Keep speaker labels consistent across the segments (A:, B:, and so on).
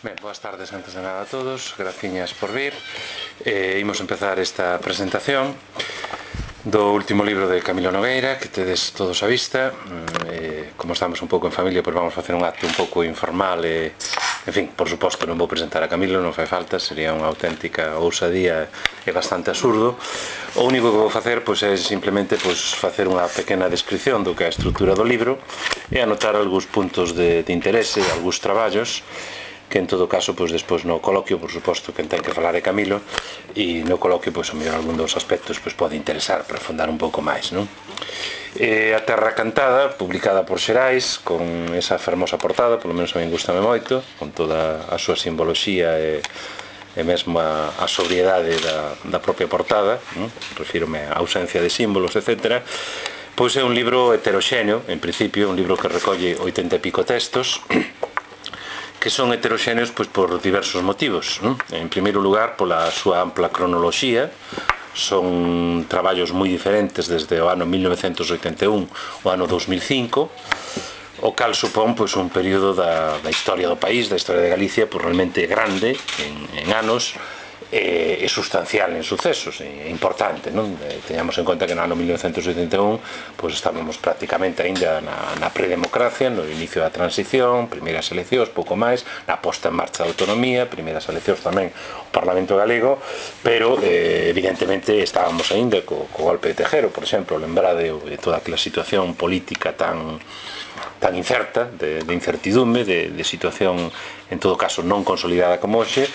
A: Ben, boas tardes antes de nada a todos, graciñas por vir. Imos empezar esta presentación do último libro de Camilo Nogueira, que tedes todos a vista. Como estamos un pouco en familia, pois vamos facer un acto un pouco informal e, en fin, por suposto non vou presentar a Camilo, non fai falta, sería unha auténtica ousadía e bastante absurdo. O único que vou facer pois é simplemente pois facer unha pequena descripción do que é a estrutura do libro e anotar algúns puntos de interese, algúns traballos que en todo caso, pois despois no coloquio, por suposto, quen ten que falar é Camilo, e no coloquio, pois, o mellor algún dos aspectos pois pode interesar para afondar un pouco máis, non? A Terra Cantada, publicada por Xerais, con esa fermosa portada, polo menos a min gustame moito, con toda a súa simboloxía e mesmo a sobriedade da propia portada, non? Refírome á ausencia de símbolos, etc. Pois é un libro heteroxéneo, en principio, un libro que recolle 80 e pico textos, que son heteroxéneos pois, por diversos motivos, non? En primeiro lugar, pola súa ampla cronoloxía, son traballos moi diferentes desde o ano 1981 ao ano 2005, o cal supón pois, un período da historia do país, da historia de Galicia, pois, realmente grande en anos, e sustancial en sucesos, e importante, non? Teñamos en conta que no ano 1981 pois estábamos prácticamente aínda na predemocracia, no inicio da transición, primeiras eleccións, pouco máis, na posta en marcha da autonomía, primeiras eleccións tamén o Parlamento galego, pero evidentemente estábamos aínda co golpe de Tejero, por exemplo, lembrade de toda aquela situación política tan incerta, de incertidume, de situación en todo caso non consolidada como hoxe,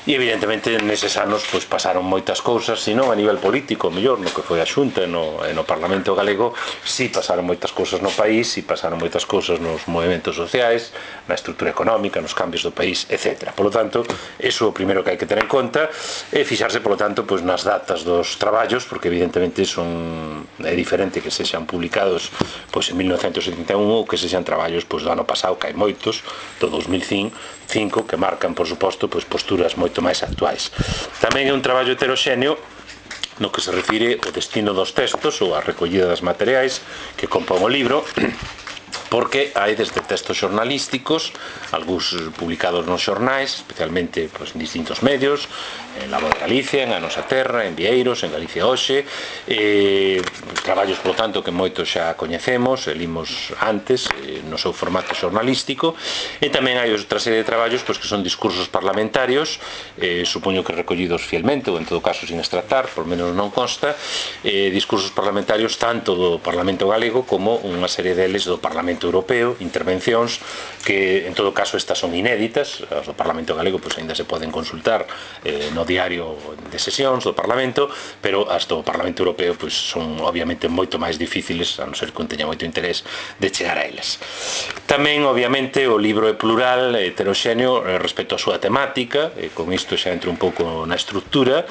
A: e evidentemente neses anos pois, pasaron moitas cousas, se non a nivel político, mellor no que foi a Xunta e no Parlamento galego, si pasaron moitas cousas no país, si pasaron moitas cousas nos movimentos sociais, na estrutura económica, nos cambios do país, etc. Por lo tanto, eso é o primeiro que hai que ter en conta, e fixarse, por lo tanto, pois, nas datas dos traballos, porque evidentemente é diferente que sexan publicados pois, en 1971 ou que sexan traballos pois, do ano pasado, que hai moitos, do 2005, que marcan, por suposto, pois, posturas moito máis actuais. Tamén é un traballo heteroxéneo no que se refire ao destino dos textos ou a recollida das materiais que compón o libro, porque hai desde textos xornalísticos, algúns publicados nos xornais, especialmente pois, en distintos medios, en La Voz de Galicia, en A Nosa Terra, en Vieiros, en Galicia Hoxe, traballos, polo tanto, que moitos xa coñecemos, limos antes, no seu formato xornalístico, e tamén hai outra serie de traballos pois, que son discursos parlamentarios, supoño que recollidos fielmente, ou en todo caso sin extractar, por menos non consta, discursos parlamentarios tanto do Parlamento galego como unha serie deles do Parlamento Europeo, intervencións que en todo caso estas son inéditas, as do Parlamento galego pois ainda se poden consultar no diario de sesións do Parlamento, pero as do Parlamento Europeo pois son obviamente moito máis difíciles, a non ser que un teña moito interés de chegar a elas. Tamén obviamente o libro é plural, heteroxéneo respecto á súa temática, con isto xa entro un pouco na estrutura.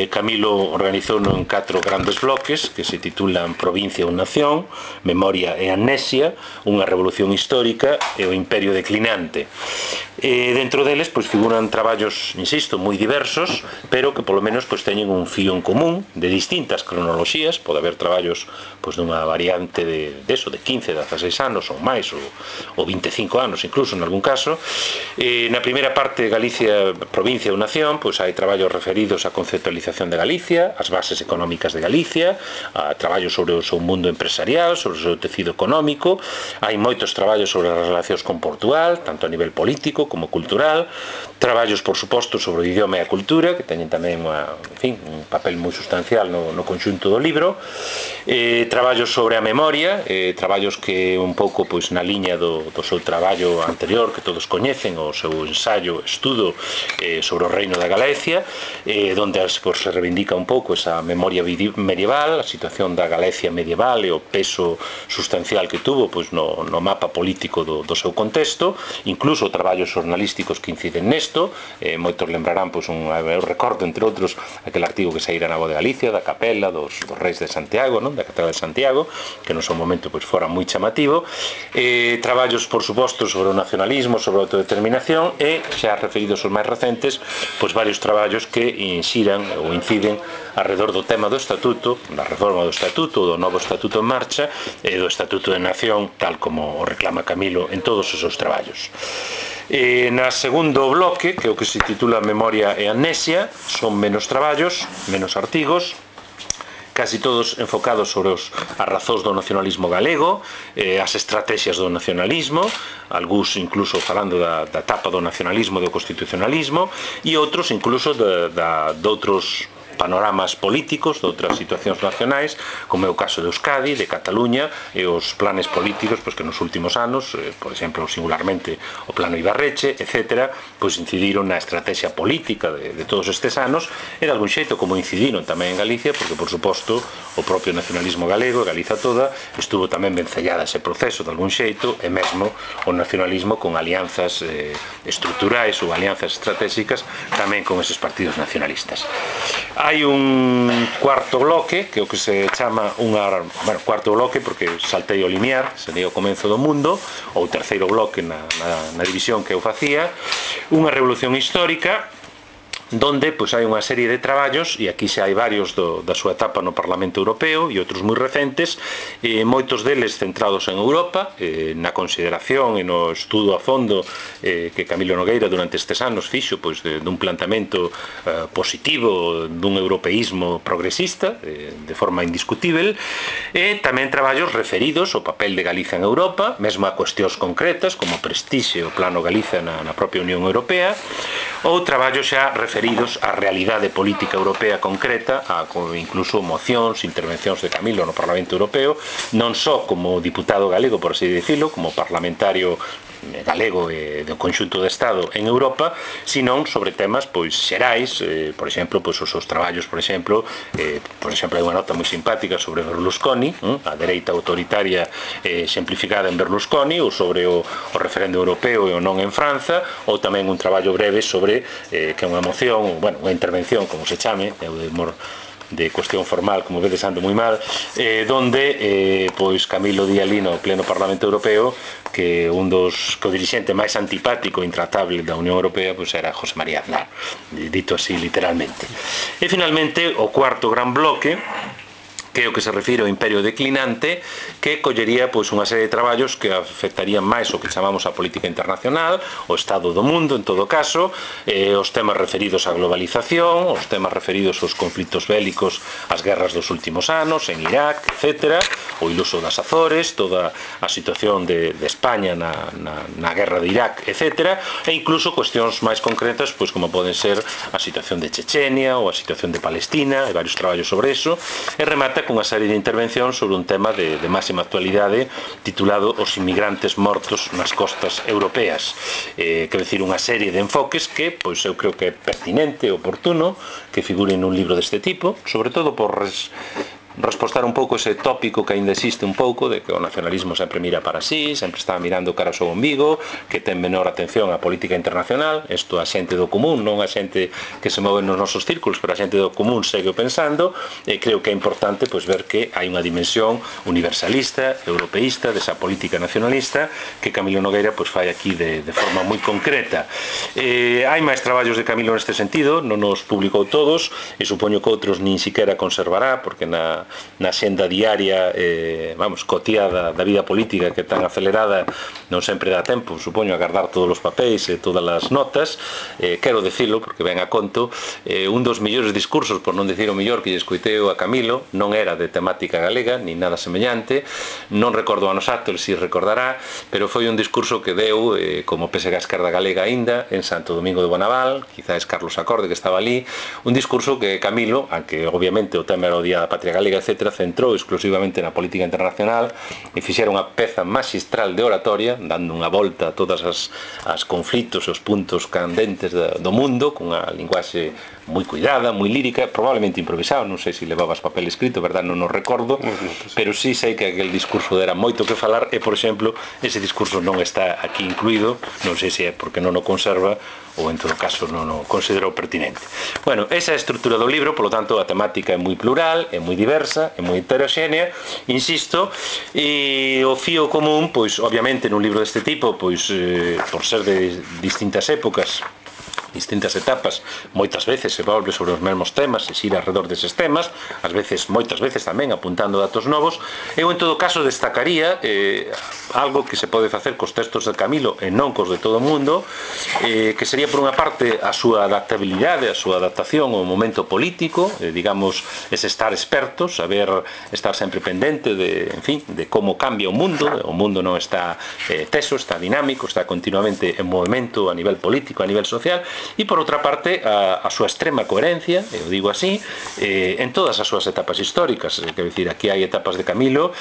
A: Camilo organizouno en 4 grandes bloques que se titulan Provincia ou Nación, Memoria e Amnesia, unha revolución histórica e o imperio declinante. Dentro deles pois, figuran traballos, insisto, moi diversos, pero que polo menos pois, teñen un fío en común de distintas cronoloxías, pode haber traballos pois, dunha variante de 15, 16 anos ou máis, ou 25 anos incluso en algún caso. Na primeira parte, Galicia, Provincia ou Nación, pois hai traballos referidos á conceptualización de Galicia, as bases económicas de Galicia, a traballos sobre o seu mundo empresarial, sobre o seu tecido económico. Hai moitos traballos sobre as relacións con Portugal, tanto a nivel político como cultural, traballos, por suposto, sobre o idioma e a cultura, que teñen tamén un papel moi sustancial no conxunto do libro, traballos sobre a memoria, traballos que un pouco pois, na liña do seu traballo anterior, que todos coñecen, o seu ensaio, estudo sobre o reino da Galicia, donde se reivindica un pouco esa memoria medieval, a situación da Galicia medieval e o peso sustancial que tuvo pois, no mapa político do seu contexto, incluso traballos xornalísticos que inciden nesto. Moitos lembrarán, pois, eu recordo, entre outros, aquel artigo que saíra na Voz de Galicia, da capela dos reis de Santiago, non? Da catedral de Santiago, que no seu momento pois, fora moi chamativo. Traballos, por suposto, sobre o nacionalismo, sobre a autodeterminación, e, xa referidos aos máis recentes, pois varios traballos que inxiran ou inciden alrededor do tema do Estatuto, da reforma do Estatuto, do novo Estatuto en marcha, e do Estatuto de Nación, tal como o reclama Camilo en todos os seus traballos. Na segundo bloque, que é o que se titula Memoria e Amnesia, son menos traballos, menos artigos, casi todos enfocados sobre as razóns do nacionalismo galego, as estrategias do nacionalismo, algúns incluso falando da etapa do nacionalismo, do constitucionalismo, e outros incluso de outros panoramas políticos de outras situacións nacionais, como é o caso de Euskadi, de Cataluña, e os planes políticos que nos últimos anos, por exemplo, singularmente o plano Ibarreche, etc., incidiron na estrategia política de todos estes anos, e de algún xeito como incidiron tamén en Galicia, porque, por suposto, o propio nacionalismo galego, Galiza toda, estuvo tamén vencellada ese proceso de algún xeito, e mesmo o nacionalismo con alianzas estruturais ou alianzas estratégicas tamén con eses partidos nacionalistas. Hai un cuarto bloque, que é o que se chama cuarto bloque porque saltei o limiar, sería o comenzo do mundo, ou terceiro bloque na división que eu facía, unha revolución histórica, donde hai unha serie de traballos, e aquí xa hai varios da súa etapa no Parlamento Europeo e outros moi recentes, moitos deles centrados en Europa, na consideración e no estudo a fondo que Camilo Nogueira durante estes anos fixo dun planteamento positivo dun europeísmo progresista de forma indiscutível, e tamén traballos referidos ao papel de Galiza en Europa, mesmo a cuestións concretas como Prestixe o Plano Galiza na propia Unión Europea, ou traballos xa referidos á realidade política europea concreta, incluso mocións, intervencións de Camilo no Parlamento Europeo, non só como diputado galego, por así dicilo, como parlamentario galego e do conxunto do Estado en Europa, senón sobre temas xerais, por exemplo, os seus traballos, por exemplo, hai unha nota moi simpática sobre Berlusconi, a dereita autoritaria exemplificada en Berlusconi, ou sobre o referendo europeo e o non en Franza, ou tamén un traballo breve sobre que é unha moción, unha intervención, como se chame, de cuestión formal, como vedes ando moi mal, donde Camilo di ali no pleno Parlamento Europeo que un dos co-dirixente máis antipático e intratable da Unión Europea era José María Aznar, dito así literalmente. E finalmente o cuarto gran bloque, que é o que se refire ao imperio declinante, que collería unha serie de traballos que afectarían máis o que chamamos a política internacional, o estado do mundo en todo caso, os temas referidos á globalización, os temas referidos aos conflitos bélicos, as guerras dos últimos anos en Irak, etc., o iluso das Azores, toda a situación de España na guerra de Irak, etc., e incluso cuestións máis concretas como poden ser a situación de Chechenia ou a situación de Palestina, e varios traballos sobre eso, e remata cunha serie de intervencións sobre un tema de máxima actualidade titulado Os inmigrantes mortos nas costas europeas, quero dicir, unha serie de enfoques que eu creo que é pertinente e oportuno que figuren nun libro deste tipo, sobre todo por respostar un pouco ese tópico que ainda existe un pouco de que o nacionalismo sempre mira para sí, sempre está mirando cara ao seu umbigo, que ten menor atención á política internacional. Isto a xente do común, non a xente que se move nos nosos círculos, pero a xente do común segue pensando, e creo que é importante ver que hai unha dimensión universalista, europeísta, desa política nacionalista que Camilo Nogueira fai aquí de forma moi concreta. Hai máis traballos de Camilo neste sentido, non os publicou todos, e supoño que outros nin siquiera conservará, porque na xenda diaria cotiada da vida política, que tan acelerada, non sempre dá tempo, supoño, a guardar todos os papéis e todas as notas. Quero dicilo, porque ven a conto, un dos mellores discursos, por non dicir o mellor, que lle escoiteo a Camilo non era de temática galega, ni nada semellante, non recordo ano exacto, el si recordará, pero foi un discurso que deu como pese a esquerda galega aínda en Santo Domingo de Bonaval, quizás Carlos Acorde que estaba ali, un discurso que Camilo, aunque obviamente o tema era o Día da Patria Galega, etc., centrou exclusivamente na política internacional e fixera unha peza magistral de oratoria, dando unha volta a todas as conflitos e os puntos candentes do mundo, cunha linguaxe moi cuidada, moi lírica, probablemente improvisado, non sei se levabas papel escrito, verdad, non o recordo, pero sí sei que aquel discurso era moito que falar, e, por exemplo, ese discurso non está aquí incluído, non sei se é porque non o conserva ou en todo caso non o considero pertinente. Bueno, esa é a estrutura do libro, polo tanto a temática é moi plural, é moi diversa, é moi heteroxénea, insisto, e o fío común, obviamente nun libro deste tipo, por ser de distintas épocas distintas etapas, moitas veces se volve sobre os mesmos temas, se xira alrededor deses temas, ás veces, moitas veces tamén apuntando datos novos. Eu en todo caso destacaría algo que se pode facer cos textos de Camilo e non cos de todo o mundo, que sería por unha parte a súa adaptabilidade, a súa adaptación ao momento político, digamos, ese estar experto, saber estar sempre pendente de, en fin, de como cambia o mundo non está teso, está dinámico, está continuamente en movimento a nivel político, a nivel social. E por outra parte a súa extrema coherencia, eu digo así, en todas as súas etapas históricas. Quero dicir, aquí hai etapas de Camilo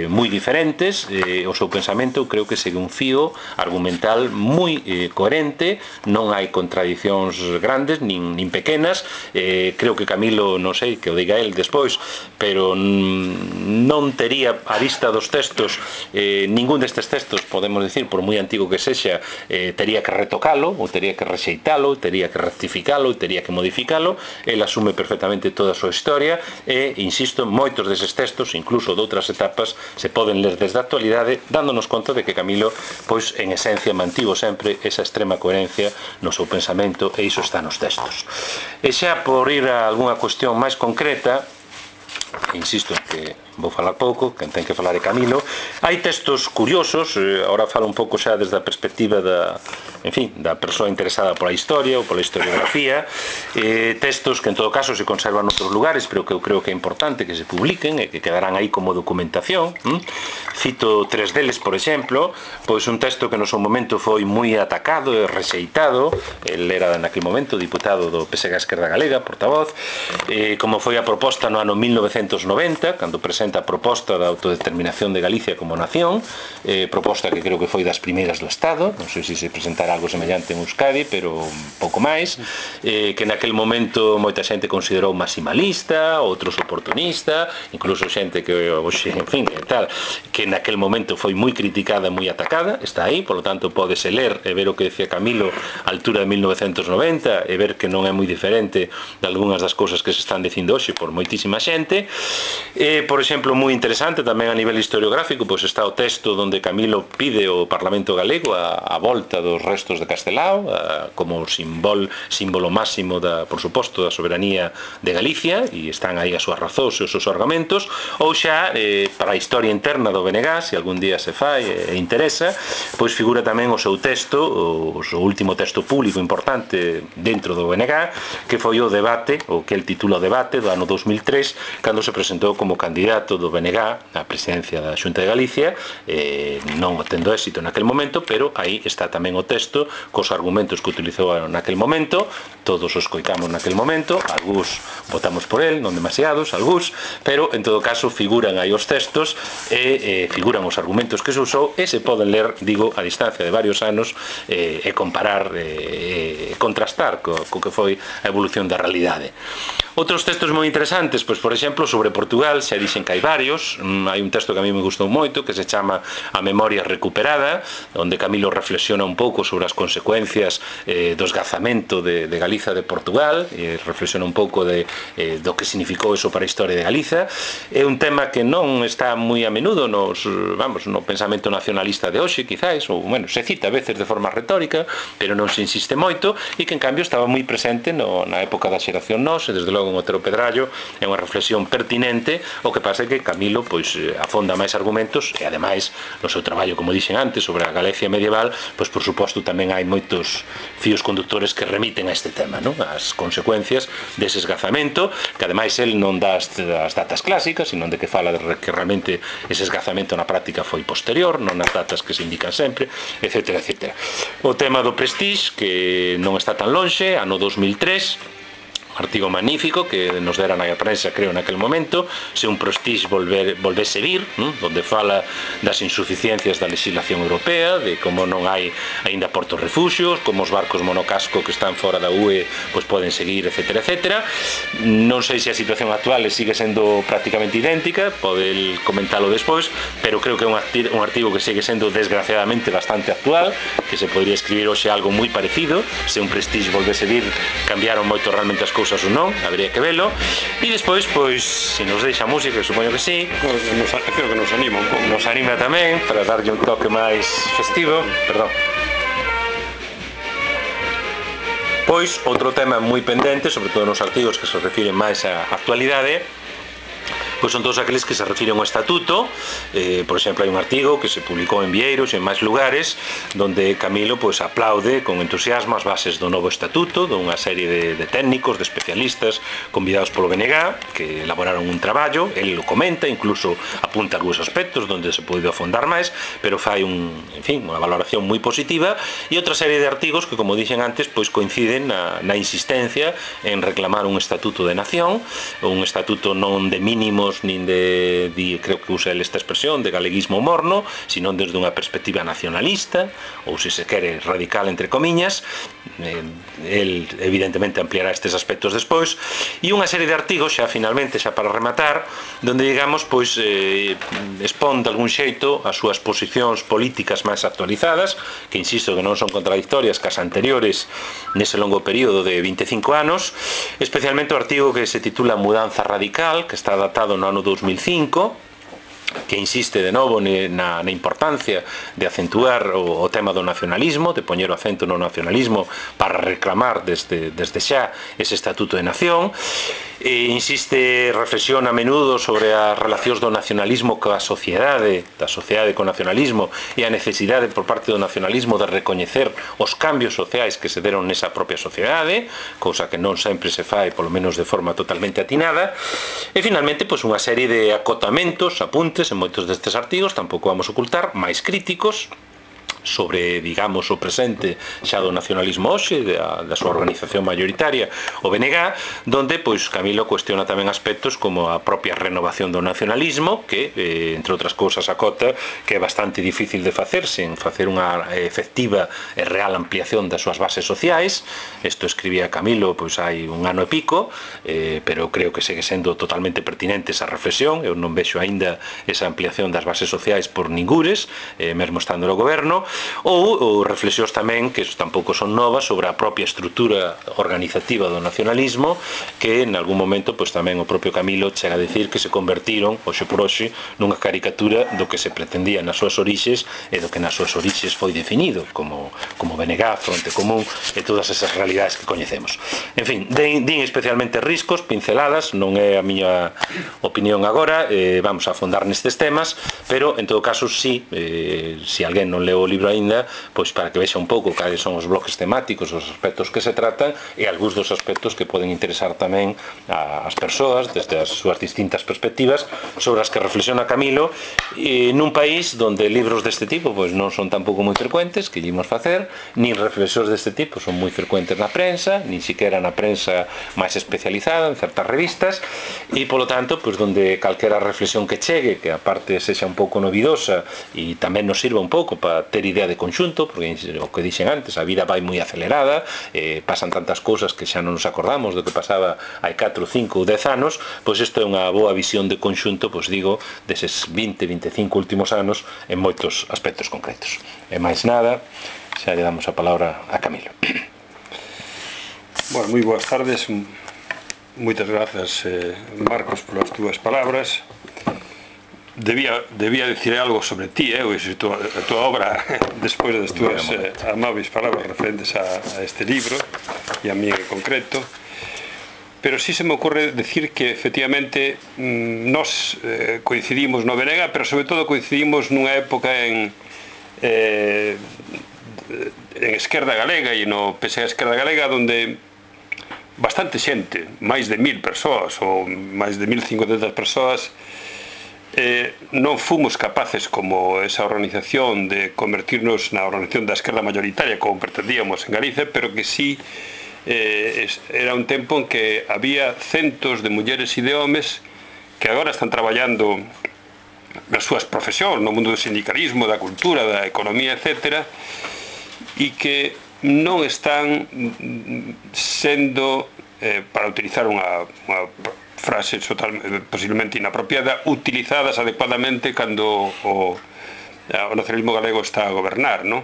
A: moi diferentes, o seu pensamento eu creo que segue un fío argumental moi coherente, non hai contradicións grandes nin pequenas. Creo que Camilo, non sei, que o diga el despois, pero non tería a vista dos textos, ningún destes textos, podemos dicir, por moi antigo que sexa, tería que retocalo, ou tería que rexeitalo, tería que rectificalo, tería que modificalo. El asume perfectamente toda a súa historia e, insisto, moitos deses textos, incluso de outras etapas, se poden ler desde a actualidade, dándonos conta de que Camilo, pois, en esencia, mantivo sempre esa extrema coherencia no seu pensamento, e iso está nos textos. E xa por ir a algunha cuestión máis concreta, insisto en que vou falar pouco, quen ten que falar é Camilo. Hai textos curiosos, agora falo un pouco xa desde a perspectiva da, en fin, da persoa interesada pola historia ou pola historiografía, textos que en todo caso se conservan noutros lugares, pero que eu creo que é importante que se publiquen e que quedarán aí como documentación. Cito tres deles, por exemplo, pois un texto que no seu momento foi moi atacado e rexeitado, el era naquele momento diputado do PSG Esquerda Galega, portavoz, como foi a proposta no ano 1990, cando presenta a proposta da autodeterminación de Galicia como nación, proposta que creo que foi das primeiras do Estado, non sei se se presentará algo semellante en Euskadi, pero pouco máis, que naquel momento moita xente considerou maximalista, outros oportunista, incluso xente que, en fin, tal, que naquel momento foi moi criticada, moi atacada, está aí, polo tanto pódese ler e ver o que decía Camilo a altura de 1990 e ver que non é moi diferente de algunhas das cousas que se están dicindo hoxe por moitísima xente. Por exemplo, moi interesante tamén a nivel historiográfico, pois está o texto onde Camilo pide ao Parlamento Galego a volta dos restos de Castelao como símbolo máximo, por suposto, da soberanía de Galicia, e están aí as súas razóns e os seus argumentos. Ou xa, para a historia interna do BNG, se algún día se fai e interesa, pois figura tamén o seu texto, o seu último texto público importante dentro do BNG, que foi o debate, o que el titula o debate do ano 2003, cando se presentou como candidato do BNG á presidencia da Xunta de Galicia, non tendo éxito naquel momento, pero aí está tamén o texto cos argumentos que utilizou naquel momento. Todos os coitamos naquel momento, algúns votamos por el, non demasiados, algúns, pero en todo caso figuran aí os textos e figuran os argumentos que se usou, e se poden ler, digo, a distancia de varios anos, e comparar e contrastar co que foi a evolución da realidade. Outros textos moi interesantes, pois, por exemplo, sobre Portugal, xa dixen que hai varios. Hai un texto que a mí me gustou moito, que se chama A Memoria Recuperada, onde Camilo reflexiona un pouco sobre as consecuencias do esgazamento de Galiza de Portugal, e reflexiona un pouco do que significou eso para a historia de Galiza. É un tema que non está moi a menudo no pensamento nacionalista de hoxe, quizáis, ou, bueno, se cita a veces de forma retórica, pero non se insiste moito, e que en cambio estaba moi presente na época da xeración Nós, e desde logo en Otero Pedrallo é unha reflexión pertinente. O que pasa é que Camilo, pois, afonda máis argumentos, e ademais no seu traballo, como dixen antes, sobre a Galicia medieval, pois por suposto tamén hai moitos fíos conductores que remiten a este tema, non? As consecuencias dese esgazamento, que ademais el non dá as datas clásicas, sino de que fala de que realmente ese esgazamento na práctica foi posterior, non as datas que se indican sempre, etc. O tema do Prestige, que non está tan lonxe, ano 2003, artigo magnífico que nos dera na prensa, creo, naquel momento, se un Prestige volvese vir, onde fala das insuficiencias da legislación europea, de como non hai aínda portos refuxios, como os barcos monocasco que están fora da UE pois poden seguir, etc. Non sei se a situación actual sigue sendo prácticamente idéntica, pode comentalo despois, pero creo que é un artigo que sigue sendo desgraciadamente bastante actual, que se podría escribir hoxe algo moi parecido. Se un Prestige volvese vir, cambiaron moito realmente as cousas ou non, habería que velo. E despois, pois, se nos deixa música, supoño que sí,
B: creo que nos anima un pouco.
A: Nos anima tamén, para darlle un toque máis festivo. Perdón.
C: Pois, outro tema moi pendente, sobre todo nos artigos que se refiren máis á actualidade, pois son todos aqueles que se refiren ao estatuto. Por exemplo, hai un artigo que se publicou en Vieiros e en máis lugares donde Camilo pois aplaude con entusiasmo as bases do novo estatuto, dunha serie de técnicos, de especialistas convidados polo BNG, que elaboraron un traballo. El lo comenta, incluso apunta algúns aspectos donde se pode afondar máis, pero fai unha valoración moi positiva, e outra serie de artigos que, como dixen antes, pois coinciden na insistencia en reclamar un estatuto de nación, un estatuto non de mínimos nin creo que usa esta expresión, de galeguismo morno, sino desde unha perspectiva nacionalista, ou se quere radical entre comiñas. El evidentemente ampliará estes aspectos despois, e unha serie de artigos xa finalmente, xa para rematar, donde digamos pois expón de algún xeito as súas posicións políticas máis actualizadas, que insisto que non son contradictorias cas anteriores nese longo período de 25 anos, especialmente o artigo que se titula Mudanza Radical, que está datado no ano 2005, que insiste de novo na importancia de acentuar o tema do nacionalismo, de poñer o acento no nacionalismo para reclamar desde xa ese estatuto de nación. Reflexiona a menudo sobre as relacións do nacionalismo coa sociedade, da sociedade co nacionalismo, e a necesidade por parte do nacionalismo de recoñecer os cambios sociais que se deron nesa propia sociedade, cousa que non sempre se fai, polo menos de forma totalmente atinada. E finalmente, pois unha serie de acotamentos, apuntes en moitos destes artigos, tampouco vamos ocultar, máis críticos sobre, digamos, o presente xa do nacionalismo hoxe, da súa organización mayoritaria, o BNG, donde pois Camilo cuestiona tamén aspectos como a propia renovación do nacionalismo, que, entre outras cousas, acota que é bastante difícil de facer sen facer unha efectiva e real ampliación das súas bases sociais. Isto escribía Camilo pois hai un ano e pico, pero creo que segue sendo totalmente pertinente esa reflexión. Eu non vexo aínda esa ampliación das bases sociais por ningures, mesmo estando no goberno. Ou reflexións tamén, que tampouco son novas, sobre a propia estrutura organizativa do nacionalismo, que en algún momento pois tamén o propio Camilo chega a decir que se convertiron, hoxe por hoxe, nunha caricatura do que se pretendía nas súas orixes e do que nas súas orixes foi definido como BNG, Fronte Común e todas esas realidades que coñecemos. En fin, din especialmente riscos, pinceladas, non é a miña opinión agora, vamos a afondar nestes temas, pero en todo caso, se alguén non leu o libro aínda, pois para que vexa un pouco cales son os bloques temáticos, os aspectos que se tratan e algúns dos aspectos que poden interesar tamén ás persoas desde as súas distintas perspectivas, sobre as que reflexiona Camilo, nun país donde libros deste tipo pois non son tampouco moi frecuentes, que ímos facer, nin reflexións deste tipo son moi frecuentes na prensa, nin siquiera na prensa máis especializada, en certas revistas, e polo tanto, pois donde calquera reflexión que chegue, que aparte sexa un pouco novidosa e tamén nos sirva un pouco para ter idea de conxunto, porque o que dixen antes, a vida vai moi acelerada, pasan tantas cousas que xa non nos acordamos do que pasaba hai 4, 5 ou 10 anos, pois isto é unha boa visión de conxunto, pois digo, deses 20, 25 últimos anos en moitos aspectos concretos. E máis nada, xa lle damos a palabra a Camilo.
B: Bueno, moi boas tardes, moitas grazas, Marcos, polas túas palabras. Debía decir algo sobre ti, a tua obra, despois das túas amáveis palabras referentes a este libro e a mí en concreto, pero sí se me ocurre decir que efectivamente nós coincidimos no BNG, pero sobre todo coincidimos nunha época en Esquerda Galega e no PSE Esquerda Galega, donde bastante xente, máis de 1000 persoas ou máis de 1500 persoas, non fomos capaces, como esa organización, de convertirnos na organización da esquerda mayoritaria como pretendíamos en Galicia, pero que sí era un tempo en que había centos de mulleres e de homes que agora están traballando nas súas profesións, no mundo do sindicalismo, da cultura, da economía, etc., e que non están sendo, para utilizar unha frase posiblemente inapropiada, utilizadas adecuadamente cando o nacionalismo galego está a gobernar, non?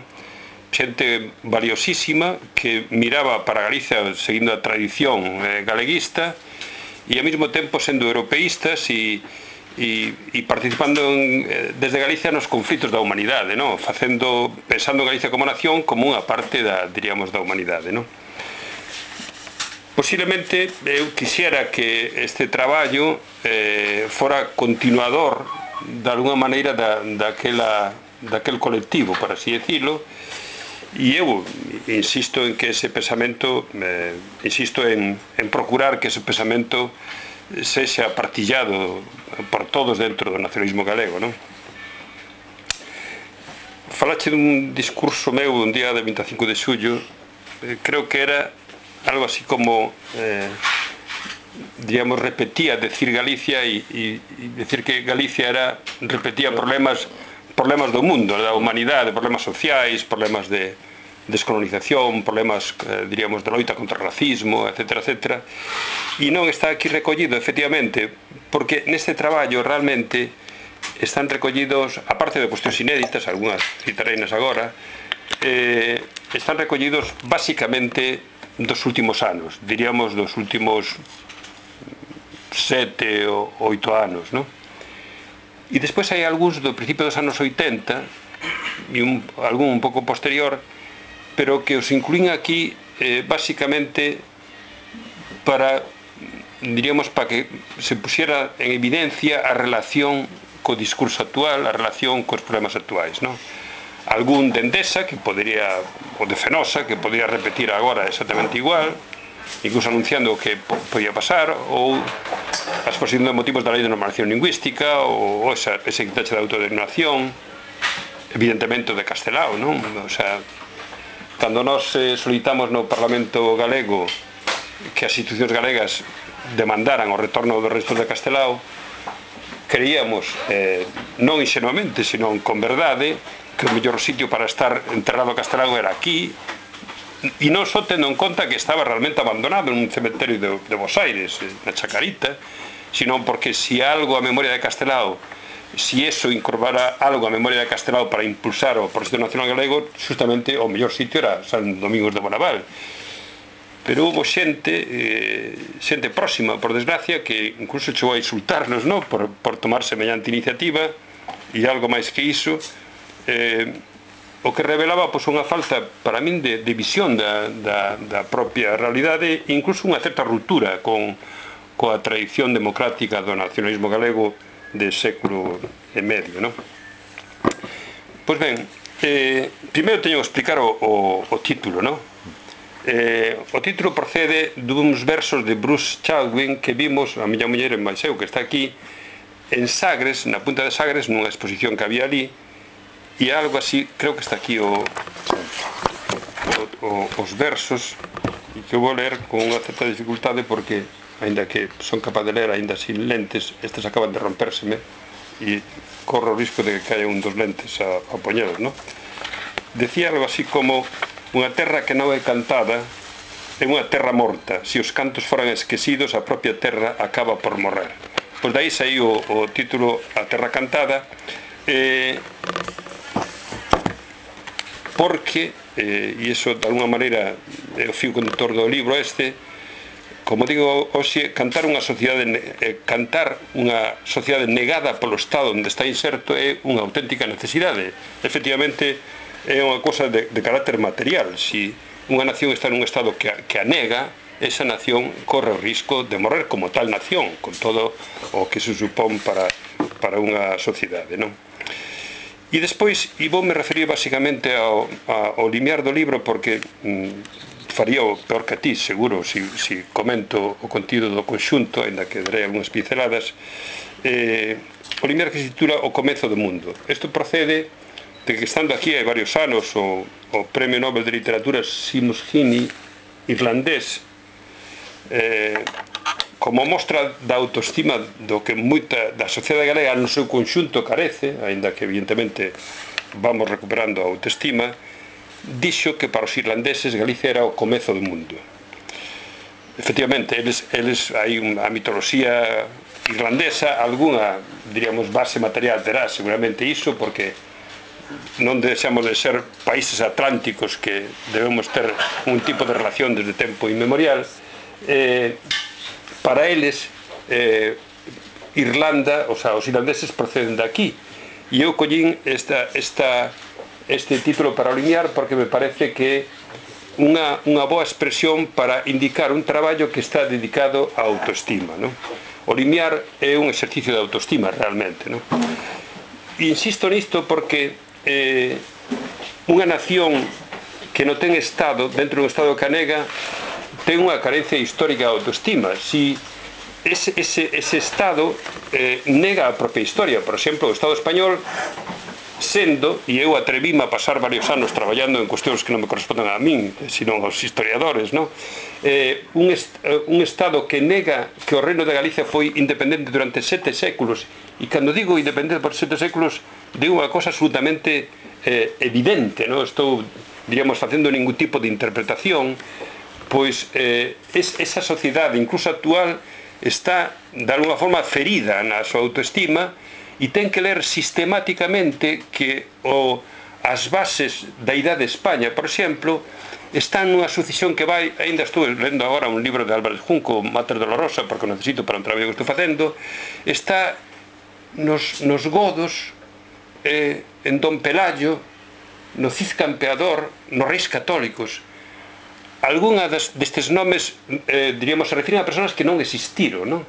B: Xente valiosísima que miraba para Galicia seguindo a tradición galeguista e ao mesmo tempo sendo europeístas e participando desde Galicia nos conflitos da humanidade, pensando en Galicia como nación como unha parte da humanidade, non? Posiblemente eu quixera que este traballo fora continuador de alguna maneira daquel colectivo, por así decirlo, e eu insisto en que ese pensamento, insisto en procurar que ese pensamento sexa partillado por todos dentro do nacionalismo galego, non? Falache dun discurso meu un día de 25 de xullo, creo que era algo así como, digamos, repetía decir Galicia e decir que Galicia repetía problemas do mundo, da humanidade, problemas sociais, problemas de descolonización, problemas, diríamos, de loita contra o racismo, etc., etc. E non está aquí recollido, efectivamente, porque neste traballo realmente están recollidos, aparte de cuestións inéditas, algunhas citareinas agora, están recollidos basicamente dos últimos anos, diríamos dos últimos 7 ou 8 anos, non? E despois hai algúns do principio dos anos 80 e algún un pouco posterior, pero que os incluín aquí basicamente para, diríamos, para que se pusiera en evidencia a relación co discurso actual, a relación cos problemas actuais, non? Algún de Endesa, que podería, ou de Fenosa, que podería repetir agora exactamente igual, incluso anunciando o que podía pasar, ou a exposición de motivos da lei de normalización lingüística, ou ese quitache de autodeterminación, evidentemente de Castelao, non? O sea, cando nós solicitamos no Parlamento galego que as institucións galegas demandaran o retorno dos restos de Castelao, creíamos, non ingenuamente, senón con verdade, que o mellor sitio para estar enterrado Castelao era aquí, e non só tendo en conta que estaba realmente abandonado nun cementerio de Bos Aires, na Chacarita, sino porque si algo a memoria de Castelao, si eso incorporara algo a memoria de Castelao para impulsar o proxecto nacional galego, justamente o mellor sitio era San Domingos de Bonaval. Pero hubo xente próxima, por desgracia, que incluso chegou a insultarnos, non? Por tomar semellante iniciativa, e algo máis que iso, o que revelaba unha falta, para min, de visión da propia realidade, e incluso unha certa ruptura coa tradición democrática do nacionalismo galego de século e medio, non? Pois ben, primeiro teño que explicar o título, non? O título procede duns versos de Bruce Chalwin que vimos, a miña muller en Baixeu, que está aquí, en Sagres, na punta de Sagres, nunha exposición que había ali, e algo así, creo que está aquí os versos, e que eu vou ler con unha certa dificultade porque, aínda que son capaz de ler aínda sin lentes, estes acaban de rompérseme e corro o risco de que caia un dos lentes a poñelos, non? Decía algo así como: unha terra que non é cantada é unha terra morta, se os cantos foran esquecidos a propia terra acaba por morrer. Pois dai saiu o título A Terra Cantada, porque, e iso de alguna maneira é o fio conductor do libro este, como digo hoxe, cantar unha sociedade negada polo Estado onde está inserto é unha auténtica necesidade. Efectivamente, é unha cosa de carácter material. Si unha nación está nun estado que a nega, esa nación corre o risco de morrer como tal nación, con todo o que se supón para unha sociedade, non? E despois, e voume referir basicamente ao limiar do libro, porque faría o peor que a ti, seguro, si comento o contido do conxunto, ainda que darei algunhas pinceladas. O limiar que se titula O Comezo do Mundo. Isto procede de que, estando aquí hai varios anos, o Premio Nobel de Literatura Seamus Heaney, irlandés, como mostra da autoestima do que moita da sociedade galega no seu conxunto carece, aínda que evidentemente vamos recuperando a autoestima, dixo que para os irlandeses Galicia era o comezo do mundo. Efectivamente, eles hai a mitoloxía irlandesa, algunha, diríamos, base material terá seguramente iso, porque non deixamos de ser países atlánticos que debemos ter un tipo de relación desde tempo inmemorial. Para eles, Irlanda, o sea, os irlandeses proceden de aquí, e eu collín este título para alinear porque me parece que unha boa expresión para indicar un traballo que está dedicado á autoestima, non? O limiar é un exercicio de autoestima realmente, non? Insisto nisto porque unha nación que non ten Estado, dentro dun Estado que a nega, ten unha carencia histórica de autoestima. Si ese Estado nega a propia historia, por exemplo, o Estado español, sendo, e eu atrevíme a pasar varios anos traballando en cuestións que non me corresponden a min, sino aos historiadores, non? Un Estado que nega que o Reino de Galicia foi independente durante 7 séculos, e cando digo independente por 7 séculos, digo unha cosa absolutamente evidente, non? Estou, diríamos, facendo ningún tipo de interpretación, pois esa sociedade, incluso actual, está, de alguna forma, ferida na súa autoestima, e ten que ler sistemáticamente que as bases da idade de España, por exemplo, están nunha sucesión que vai, ainda estou lendo agora un libro de Álvarez Junco, Mater Dolorosa, porque o necesito para un traballo que estou facendo, está nos godos, en Don Pelayo, no Cid Campeador, nos reis católicos. Algúna destes nomes, diríamos, se refiren a persoas que non existiron, non?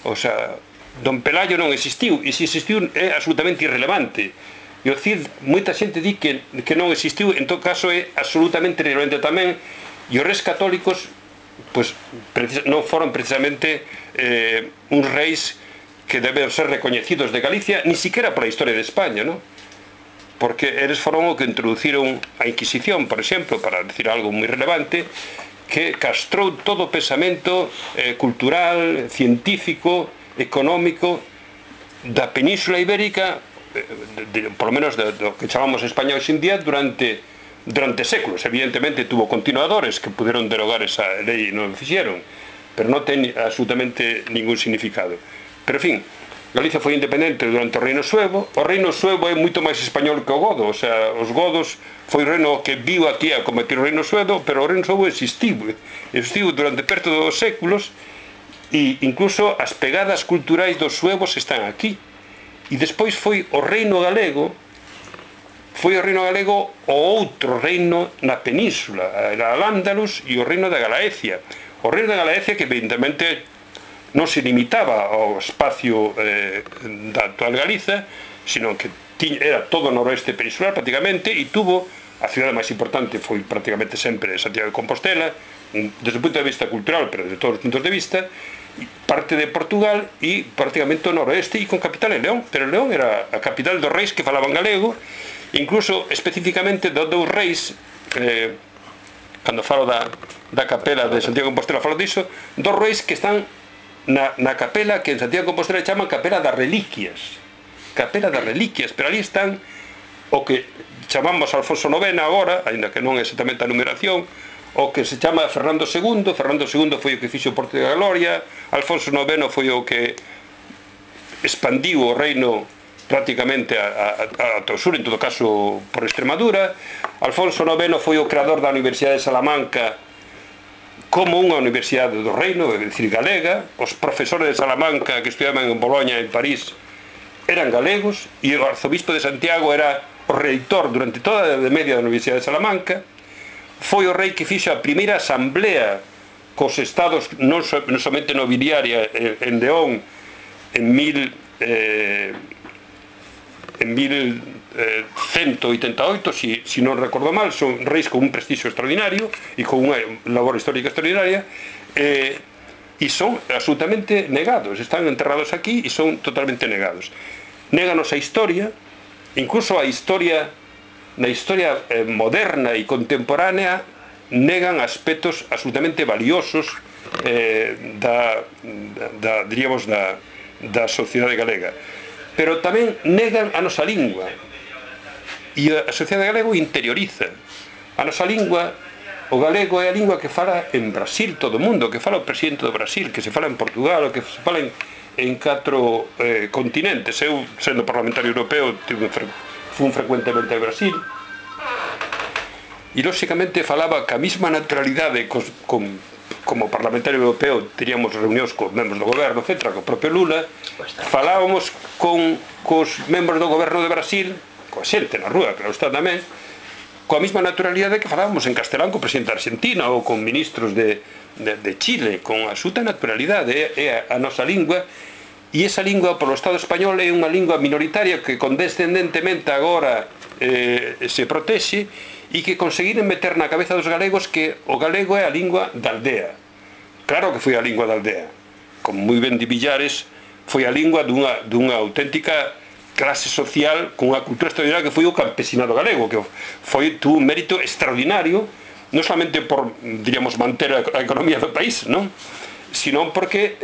B: O sea, Don Pelayo non existiu, e se existiu é absolutamente irrelevante. E o Cid, moita xente di que non existiu, en todo caso é absolutamente irrelevante tamén, e os reis católicos pois, non foron precisamente uns reis que deben ser recoñecidos de Galicia, ni siquiera pola historia de España, non? Porque eles foron o que introduciron a Inquisición, por exemplo, para decir algo moi relevante, que castrou todo o pensamento cultural, científico, económico da Península Ibérica, por lo menos do que chamamos España hoxe en día, durante séculos. Evidentemente tuvo continuadores que puderon derogar esa lei e non o fixeron, pero non ten absolutamente ningún significado. Pero, en fin, Galicia foi independente durante o Reino Suevo. O Reino Suevo é moito máis español que o godo, o sea, os godos foi o reino que viu aquí a combatir o Reino Suevo, pero o Reino Suevo existiu durante perto dos séculos, e incluso as pegadas culturais dos suevos están aquí. E despois foi o Reino Galego o outro reino na península, era Al-Ándalus e o Reino da Galaecia. O Reino da Galaecia que evidentemente non se limitaba ao espacio da actual Galiza, sino que era todo o noroeste peninsular prácticamente, e tuvo, a cidade máis importante foi prácticamente sempre Santiago de Compostela, desde o punto de vista cultural, pero desde todos os puntos de vista, parte de Portugal e prácticamente o noroeste, e con capital en León, pero León era a capital dos reis que falaban galego, incluso especificamente dos dous reis, cando falo da capela de Santiago de Compostela falo diso, dos reis que están na capela que en Santiago de Compostela chaman Capela das Reliquias, pero ali están o que chamamos Alfonso IX agora, aínda que non é exactamente a numeración, o que se chama Fernando II. Fernando II foi o que fixo o Porto da Gloria, Alfonso IX foi o que expandiu o reino prácticamente ata o sur, en todo caso por Extremadura. Alfonso IX foi o creador da Universidade de Salamanca como unha universidade do reino, é dicir, galega. Os profesores de Salamanca que estudaban en Boloña, en París, eran galegos, e o arzobispo de Santiago era o reitor durante toda a Idade Media da Universidade de Salamanca. Foi o rei que fixo a primeira asamblea cos estados, non somente nobiliaria en León, en 1188, si non recordo mal. Son reis con un prestixio extraordinario e con unha labor histórica extraordinaria, e son absolutamente negados, están enterrados aquí e son totalmente negados. Néganos a historia, incluso a historia, na historia moderna e contemporánea, negan aspectos absolutamente valiosos diríamos, da sociedade galega. Pero tamén negan a nosa lingua, e a sociedade galega interioriza a nosa lingua. O galego é a lingua que fala en Brasil todo o mundo, que fala o presidente do Brasil, que se fala en Portugal, o que se fala en 4 continentes. Eu, sendo parlamentario europeo, fun frecuentemente a Brasil, e lóxicamente falaba ca mesma naturalidade como parlamentario europeo. Teríamos reunións cos membros do goberno, etc., co propio Lula. Falábamos cos membros do goberno de Brasil, coa xente na rúa, claro está tamén, coa mesma naturalidade que falábamos en castelán co presidente da Argentina ou con ministros de Chile, con absoluta naturalidade. É a nosa lingua, e esa lingua polo Estado español é unha lingua minoritaria que condescendentemente agora se protexe, e que conseguiren meter na cabeza dos galegos que o galego é a lingua da aldea. Claro que foi a lingua da aldea, como moi ben di Villares, foi a lingua dunha auténtica clase social con unha cultura extraordinaria que foi o campesinado galego, que tuvo un mérito extraordinario, non solamente por, diríamos, manter a economía do país, non? Sino porque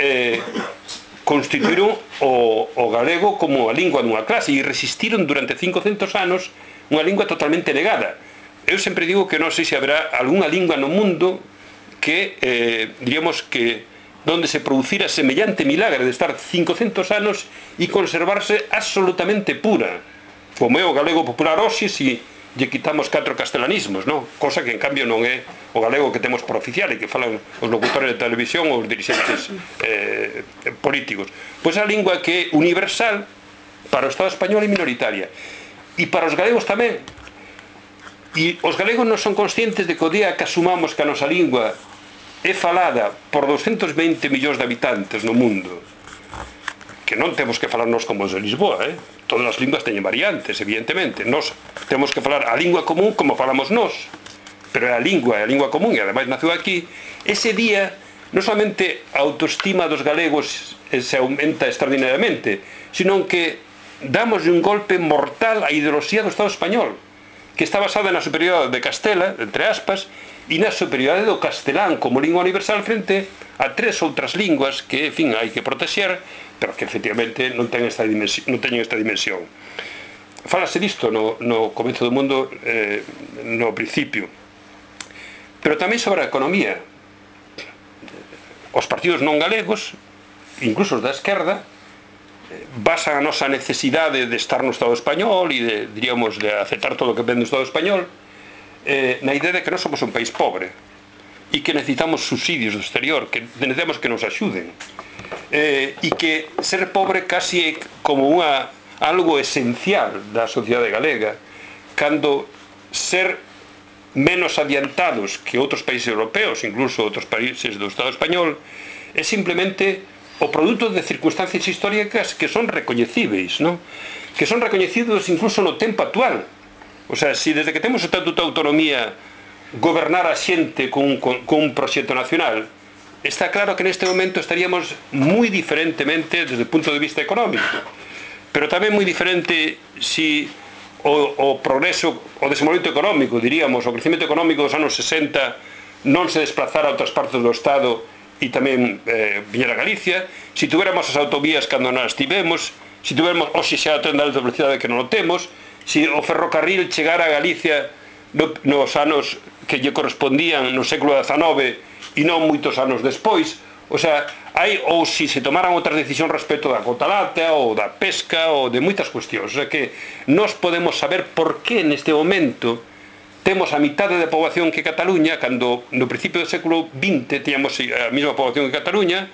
B: constituíron o galego como a lingua dunha clase e resistiron durante 500 anos unha lingua totalmente negada. Eu sempre digo que non sei se haberá algunha lingua no mundo que, diríamos que, donde se producira semellante milagre de estar 500 anos e conservarse absolutamente pura, como é o galego popular hoxe, se lle quitamos 4 castelanismos, non? Cosa que en cambio non é o galego que temos por oficial e que falan os locutores de televisión ou os dirigentes políticos. Pois a lingua que é universal para o Estado español e minoritaria, e para os galegos tamén. E os galegos non son conscientes de que o día que asumamos que a nosa lingua é falada por 220 millóns de habitantes no mundo, que non temos que falarnos como os de Lisboa, todas as linguas teñen variantes, evidentemente. Nos temos que falar a lingua común como falamos nós, pero é a lingua común, e ademais naceu aquí. Ese día, non solamente a autoestima dos galegos se aumenta extraordinariamente, sino que damos un golpe mortal á ideoloxía do Estado español, que está basada na superioridade de Castela, entre aspas, e na superioridade do castelán como lingua universal frente a 3 outras linguas que, en fin, hai que protexer, pero que efectivamente non teñen esta dimensión. Fálase disto no comezo do mundo, no principio. Pero tamén sobre a economía. Os partidos non galegos, incluso os da esquerda, basan a nosa necesidade de estar no Estado español e diríamos, de aceptar todo o que ven do Estado español na idea de que non somos un país pobre e que necesitamos subsidios do exterior, que necesitamos que nos axuden, e que ser pobre casi é como algo esencial da sociedade galega, cando ser menos adiantados que outros países europeos, incluso outros países do Estado español, é simplemente o produto de circunstancias históricas que son recoñecíveis, non? Que son recoñecidos incluso no tempo actual. O sea, se desde que temos o Estatuto de Autonomía gobernar a xente con un proxecto nacional, está claro que neste momento estaríamos moi diferentemente desde o punto de vista económico, pero tamén moi diferente se o progreso, o desenvolvemento económico, diríamos, o crecemento económico dos anos 60 non se desplazara a outras partes do Estado e tamén viñera a Galicia, se tuviéramos as autovías cando non as tivemos, se tuviéramos hoxe xa o tren de alta velocidade que non o temos, se o ferrocarril chegara a Galicia nos anos que lle correspondían no século XIX e non moitos anos despois, o sea, ou se tomaran outras decisións respecto da cota láctea ou da pesca ou de moitas cuestións. O sea que nós podemos saber por que neste momento temos a mitade da poboación que Cataluña, cando no principio do século XX teníamos a mesma poboación que Cataluña,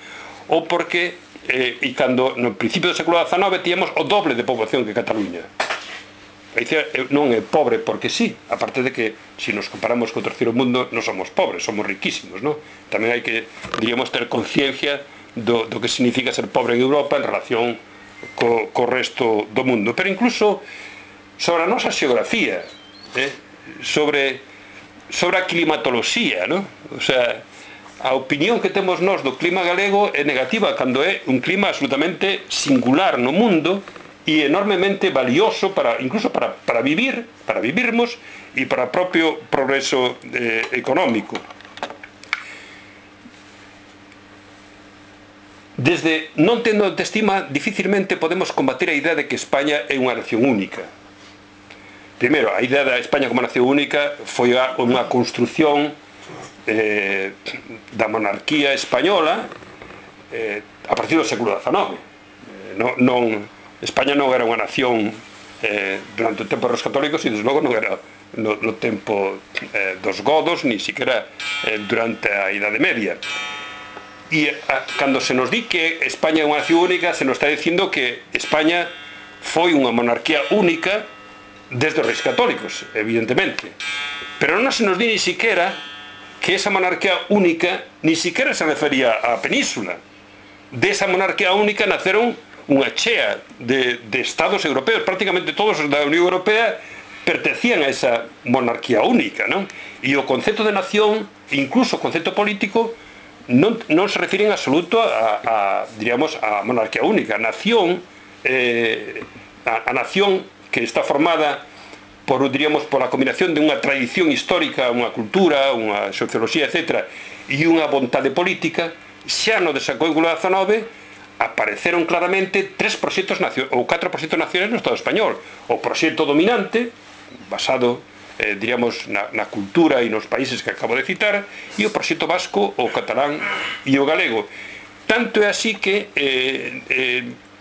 B: ou porque, e cando no principio do século XIX teníamos o doble de poboación que Cataluña. Galicia non é pobre porque sí, aparte de que, se nos comparamos co terceiro mundo, non somos pobres, somos riquísimos, non? Tamén hai que, diríamos, ter conciencia do que significa ser pobre en Europa en relación co resto do mundo. Pero incluso sobre a nosa xeografía, sobre a climatoloxía, non? O sea, a opinión que temos nós do clima galego é negativa, cando é un clima absolutamente singular no mundo e enormemente valioso incluso para vivirmos e para o propio progreso económico. Desde non tendo autoestima, dificilmente podemos combater a idea de que España é unha nación única. Primeiro, a idea da España como nación única foi unha construción da monarquía española a partir do século XIX. España non era unha nación durante o tempo dos católicos e desde logo non era no tempo dos godos, ni siquiera durante a Idade Media. E cando se nos di que España é unha nación única, se nos está dicindo que España foi unha monarquía única desde os reis católicos, evidentemente. Pero non se nos di ni siquiera que esa monarquía única ni siquiera se refería á península. De esa monarquía única naceron unha chea de estados europeos, prácticamente todos os da Unión Europea pertencían a esa monarquía única, non? E o concepto de nación, incluso o concepto político, non se refiren en absoluto diríamos, a monarquía única. A nación que está formada por, diríamos, por a combinación de unha tradición histórica, unha cultura, unha socioloxía, etc., e unha vontade política, xa no desencuentro XIX apareceron claramente 3 proxectos ou 4 proxectos nacionais no Estado español. O proxecto dominante, basado, diríamos, na cultura e nos países que acabo de citar, e o proxecto vasco, o catalán e o galego. Tanto é así que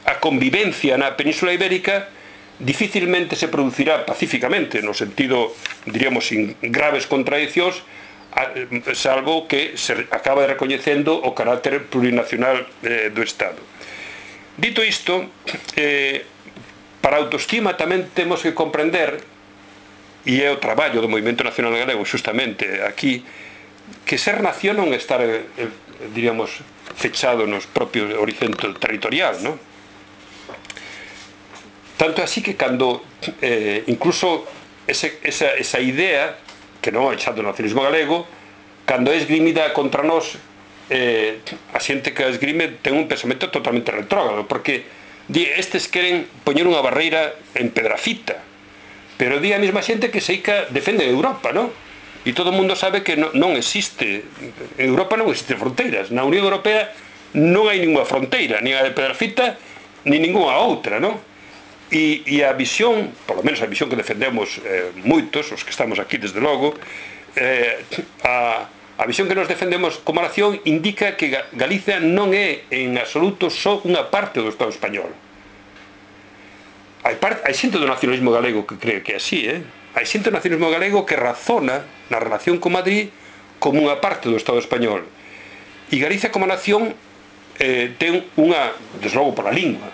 B: a convivencia na Península Ibérica dificilmente se producirá pacíficamente, no sentido, diríamos, sin graves contradiccións, salvo que se acaba recoñecendo o carácter plurinacional do Estado. Dito isto, para a autoestima tamén temos que comprender, e é o traballo do Movimento Nacional Galego justamente aquí, que ser nación non é estar, diríamos, fechado nos propios horizonte territorial, non? Tanto así que cando incluso esa idea, que non é xa do nacionalismo galego, cando é esgrimida contra nós, a xente que a esgrime ten un pensamento totalmente retrógrado, porque estes queren poñer unha barreira en Pedrafita, pero di a mesma xente que seica defende Europa, non? E todo o mundo sabe que non existe, en Europa non existe fronteiras, na Unión Europea non hai ninguna fronteira, nin a de Pedrafita, nin ninguna outra, non? E a visión, polo menos a visión que defendemos moitos, os que estamos aquí desde logo, a visión que nos defendemos como nación indica que Galicia non é en absoluto só unha parte do Estado español. Hai xente do nacionalismo galego que cree que é así, hai xente do nacionalismo galego que razona na relación con Madrid como unha parte do Estado español. E Galicia como nación ten unha, desde logo pola lingua,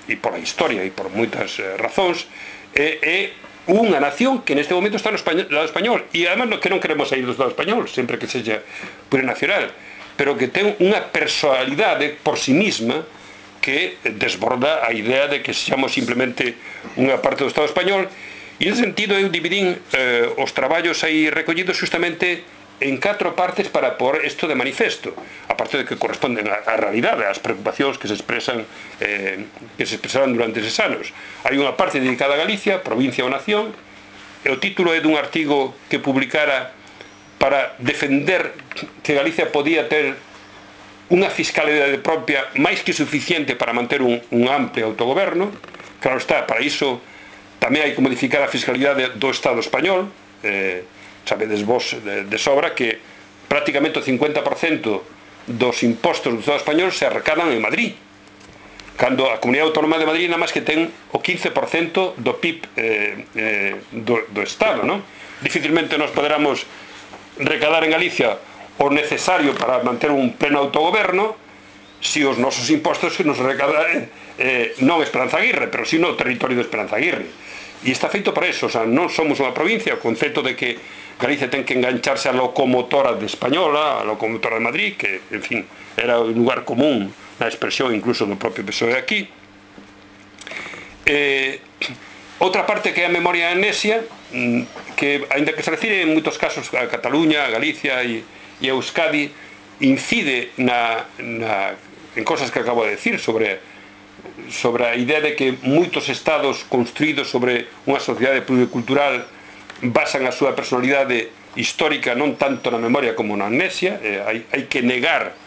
B: e pola historia e por moitas razóns, é unha nación que neste momento está no Estado español, e además que non queremos sair do Estado español sempre que sexa plurinacional, pero que ten unha personalidade por sí misma que desborda a idea de que sexamos simplemente unha parte do Estado español. E nesse sentido eu dividín os traballos aí recollidos justamente en 4 partes para pôr isto de manifesto, aparte de que corresponden á realidade, ás preocupacións que se expresaron durante eses anos. Hai unha parte dedicada a Galicia, provincia ou nación, e o título é dun artigo que publicara para defender que Galicia podía ter unha fiscalidade propia máis que suficiente para manter un amplio autogoberno. Claro está, para iso tamén hai que modificar a fiscalidade do Estado español. Sabedes vos de sobra que prácticamente o 50% dos impostos do Estado español se arrecadan en Madrid, cando a Comunidade Autónoma de Madrid nada máis que ten o 15% do PIB do Estado, non? Dificilmente nos poderamos recadar en Galicia o necesario para manter un pleno autogoberno se os nosos impostos que nos recadan non Esperanza Aguirre, pero si no o territorio de Esperanza Aguirre. E está feito para eso, o sea, non somos unha provincia, o concepto de que Galicia ten que engancharse a locomotora de Española, a locomotora de Madrid, que, en fin, era un lugar común na expresión incluso do propio PSOE aquí. Outra parte que é a memoria amnesia, que, ainda que se refire en moitos casos a Cataluña, a Galicia e a Euskadi, incide en cosas que acabo de decir sobre a idea de que moitos estados construídos sobre unha sociedade pluricultural basan a súa personalidade histórica non tanto na memoria como na amnesia. Hai que negar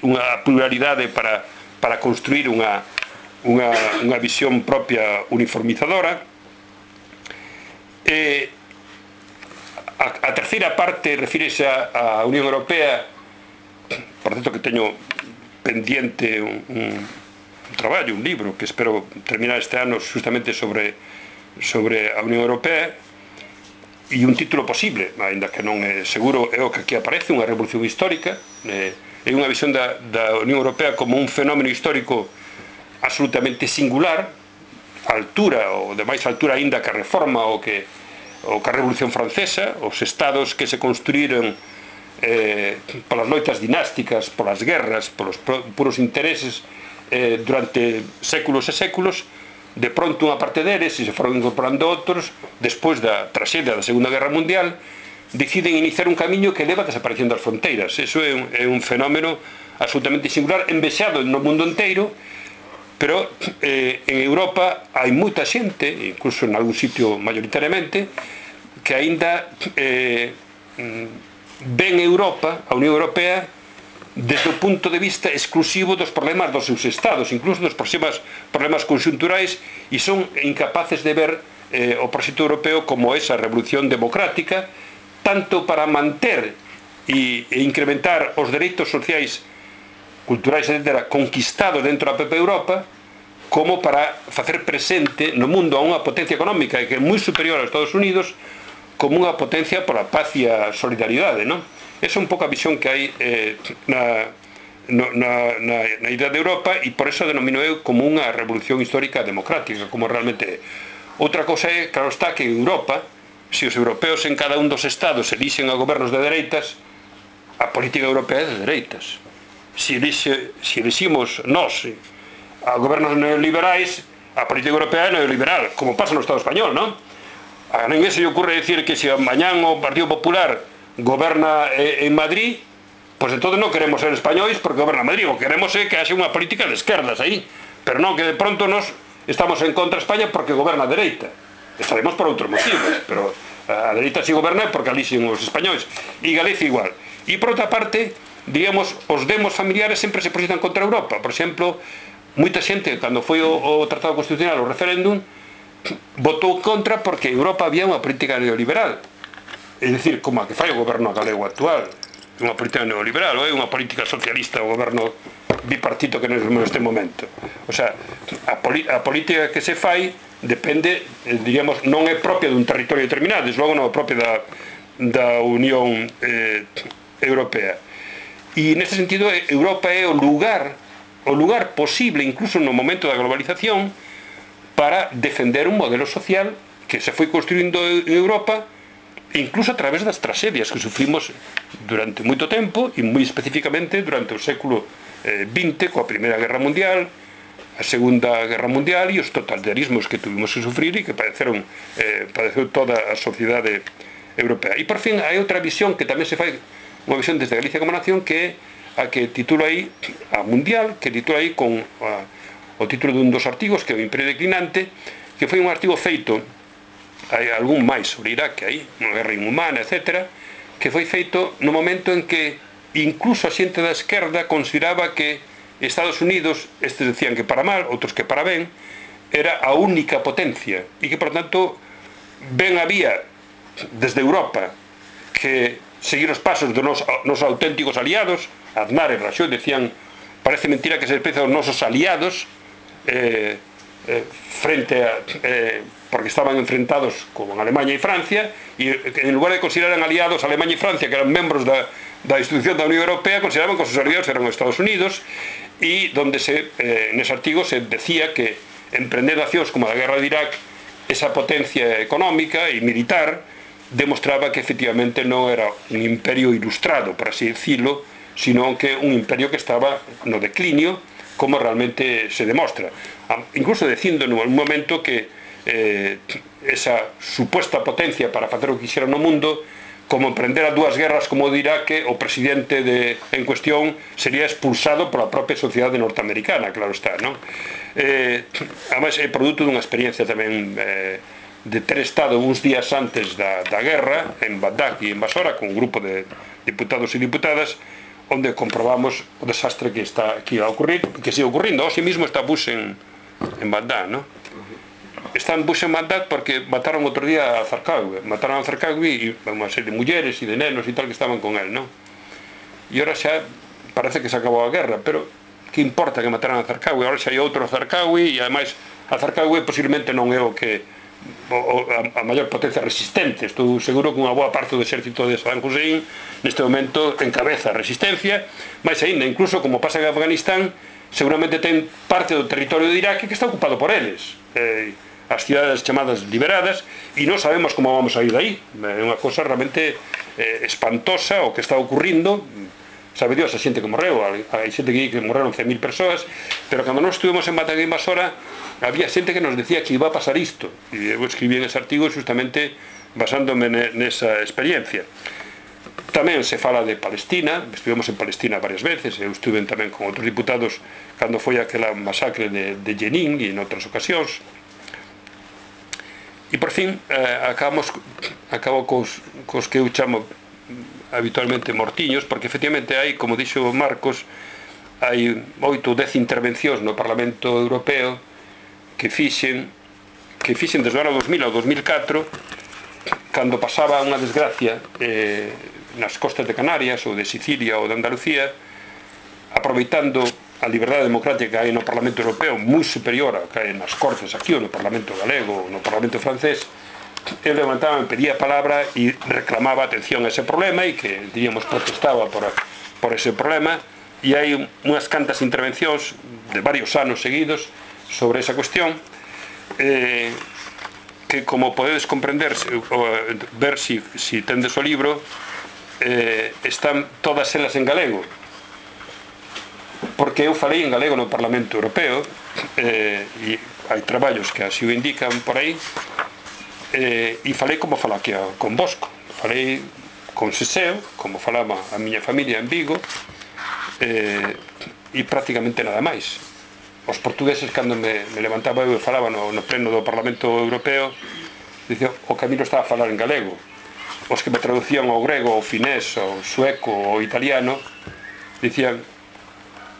B: unha pluralidade para construir unha visión propia uniformizadora. A terceira parte refírese á Unión Europea, por certo que teño pendiente un traballo, un libro que espero terminar este ano justamente sobre a Unión Europea, e un título posible, ainda que non é seguro, é o que aquí aparece, unha revolución histórica. É unha visión da Unión Europea como un fenómeno histórico absolutamente singular, altura, ou de máis altura aínda que a Reforma ou que a Revolución Francesa, os estados que se construíron polas loitas dinásticas, polas guerras, polos puros intereses durante séculos e séculos, de pronto unha parte deles, e se foron incorporando outros, despois da traxedia da Segunda Guerra Mundial, deciden iniciar un camiño que leva a desaparición das fronteiras. Eso é un fenómeno absolutamente singular, envexado no mundo inteiro, pero en Europa hai moita xente, incluso en algún sitio mayoritariamente, que aínda ven Europa, a Unión Europea, desde o punto de vista exclusivo dos problemas dos seus estados, incluso dos problemas conxunturais, e son incapaces de ver o proxecto europeo como esa revolución democrática, tanto para manter e incrementar os dereitos sociais, culturais, etc., conquistados dentro da propia Europa, como para facer presente no mundo a unha potencia económica que é moi superior aos Estados Unidos, como unha potencia pola paz e a solidaridade, non? Esa é un pouco a visión que hai na idea de Europa, e por eso denomino eu como unha revolución histórica democrática, como realmente é. Outra cosa é, claro está, que en Europa, se os europeos en cada un dos estados elixen a gobernos de dereitas, a política europea é de dereitas. Se eliximos nós a gobernos neoliberais, a política europea é neoliberal, como pasa no Estado español, non? A ninguén se lle ocurre decir que se mañán o Partido Popular goberna en Madrid, pois entón non queremos ser españois porque goberna Madrid, o que queremos é que haxe unha política de esquerdas aí, pero non que de pronto nos estamos en contra de España porque goberna a dereita. Estaremos por outros motivos, pero a dereita si goberna é porque alixen os españois, e Galicia igual. E por outra parte, digamos, os demos familiares sempre se proxectan contra Europa. Por exemplo, moita xente, cando foi o Tratado Constitucional, o referéndum, votou contra porque en Europa había unha política neoliberal. É dicir, como a que fai o goberno galego actual, unha política neoliberal, ou é unha política socialista, o goberno bipartito que neste momento. O sea, a política que se fai depende, diríamos, non é propia dun territorio determinado, desde logo non é propia da Unión Europea. E neste sentido, Europa é o lugar posible, incluso no momento da globalización, para defender un modelo social que se foi construindo en Europa, incluso a través das tragedias que sufrimos durante moito tempo, e moi especificamente durante o século XX, coa Primeira Guerra Mundial, a Segunda Guerra Mundial e os totalitarismos que tuvimos que sufrir e que padeceu toda a sociedade europea. E por fin hai outra visión que tamén se fai, unha visión desde Galicia como nación, que é a que titulo aí, a mundial, que titulo aí con o título dun dos artigos, que é o Imperio Declinante, que foi un artigo feito, hai algún máis sobre Irak que hai, unha guerra inhumana, etc., que foi feito no momento en que incluso a xente da esquerda consideraba que Estados Unidos, estes decían que para mal, outros que para ben, era a única potencia, e que, por tanto, ben había desde Europa que seguir os pasos dos nosos auténticos aliados. Aznar e Rajoy decían, parece mentira que se desprecian os nosos aliados, frente a porque estaban enfrentados con Alemania e Francia, e en lugar de considerar aliados Alemania e Francia, que eran membros da institución da Unión Europea, consideraban que os seus aliados eran os Estados Unidos, e donde nese artigo se decía que emprendendo accións como a guerra de Irak, esa potencia económica e militar demostraba que efectivamente non era un imperio ilustrado, por así decirlo, sino que un imperio que estaba no declinio, como realmente se demostra. Incluso dicindo en un momento que esa supuesta potencia para facer o que quixera no mundo, como emprendera dúas guerras como o de Irak, o presidente en cuestión sería expulsado pola propia sociedade norteamericana, claro está, non? Además, é produto dunha experiencia tamén de ter estado uns días antes da guerra en Bagdad e en Basora con un grupo de diputados e diputadas, onde comprobamos o desastre que está aquí a ocurrir, que sigue ocurrindo. Hoxe mismo está Bush en Bagdad, non? Está en Bush en Bagdad porque mataron outro día a Zarqawi, e unha serie de mulleres e de nenos e tal que estaban con él, non? E ahora xa parece que se acabou a guerra, pero que importa que mataran a Zarqawi? Ahora xa hai outro Zarqawi, e ademais a Zarqawi posiblemente non é o que a maior potencia resistente. Estou seguro que unha boa parte do exército de Saddam Hussein neste momento encabeza a resistencia, máis aínda, incluso como pasa en Afganistán, seguramente ten parte do territorio de Irak que está ocupado por eles, as cidades chamadas liberadas, e non sabemos como vamos a ir de aí. É unha cosa realmente espantosa o que está ocurrindo. Sabe Dios a xente que morreu, hai xente que morreron 100.000 persoas, pero cando nós estuvemos en Batalla Invasora había xente que nos decía que iba a pasar isto, e eu escribí en ese artigo justamente basándome nesa experiencia. Tamén se fala de Palestina, estivemos en Palestina varias veces, eu estuve tamén con outros diputados cando foi aquela masacre de Jenin e en outras ocasións. E por fin acabo cos que eu chamo habitualmente mortiños, porque efectivamente hai, como dixo Marcos, hai 8 ou 10 intervencións no Parlamento Europeo que fixen desde o ano 2000 ao 2004, cando pasaba unha desgracia nas costas de Canarias ou de Sicilia ou de Andalucía, aproveitando a liberdade democrática que hai no Parlamento Europeo, moi superior a que hai nas Cortes aquí ou no Parlamento Galego ou no Parlamento Francés, eu levantaba, me pedía a palabra e reclamaba atención a ese problema e que, diríamos, protestaba por ese problema, e hai unhas cantas intervencións de varios anos seguidos sobre esa cuestión que, como podedes comprender, ver si tendes o libro, están todas elas en galego, porque eu falei en galego no Parlamento Europeo, e hai traballos que así o indican por aí, e falei como fala aquí con Bosco, falei con Seseo, como falaba a miña familia en Vigo, e prácticamente nada máis. Os portugueses, cando me levantaba eu e falaba no pleno do Parlamento Europeo, dicía, o Camilo estaba a falar en galego. Os que me traducían ao grego, ao finés, ao sueco, ao italiano, dicían,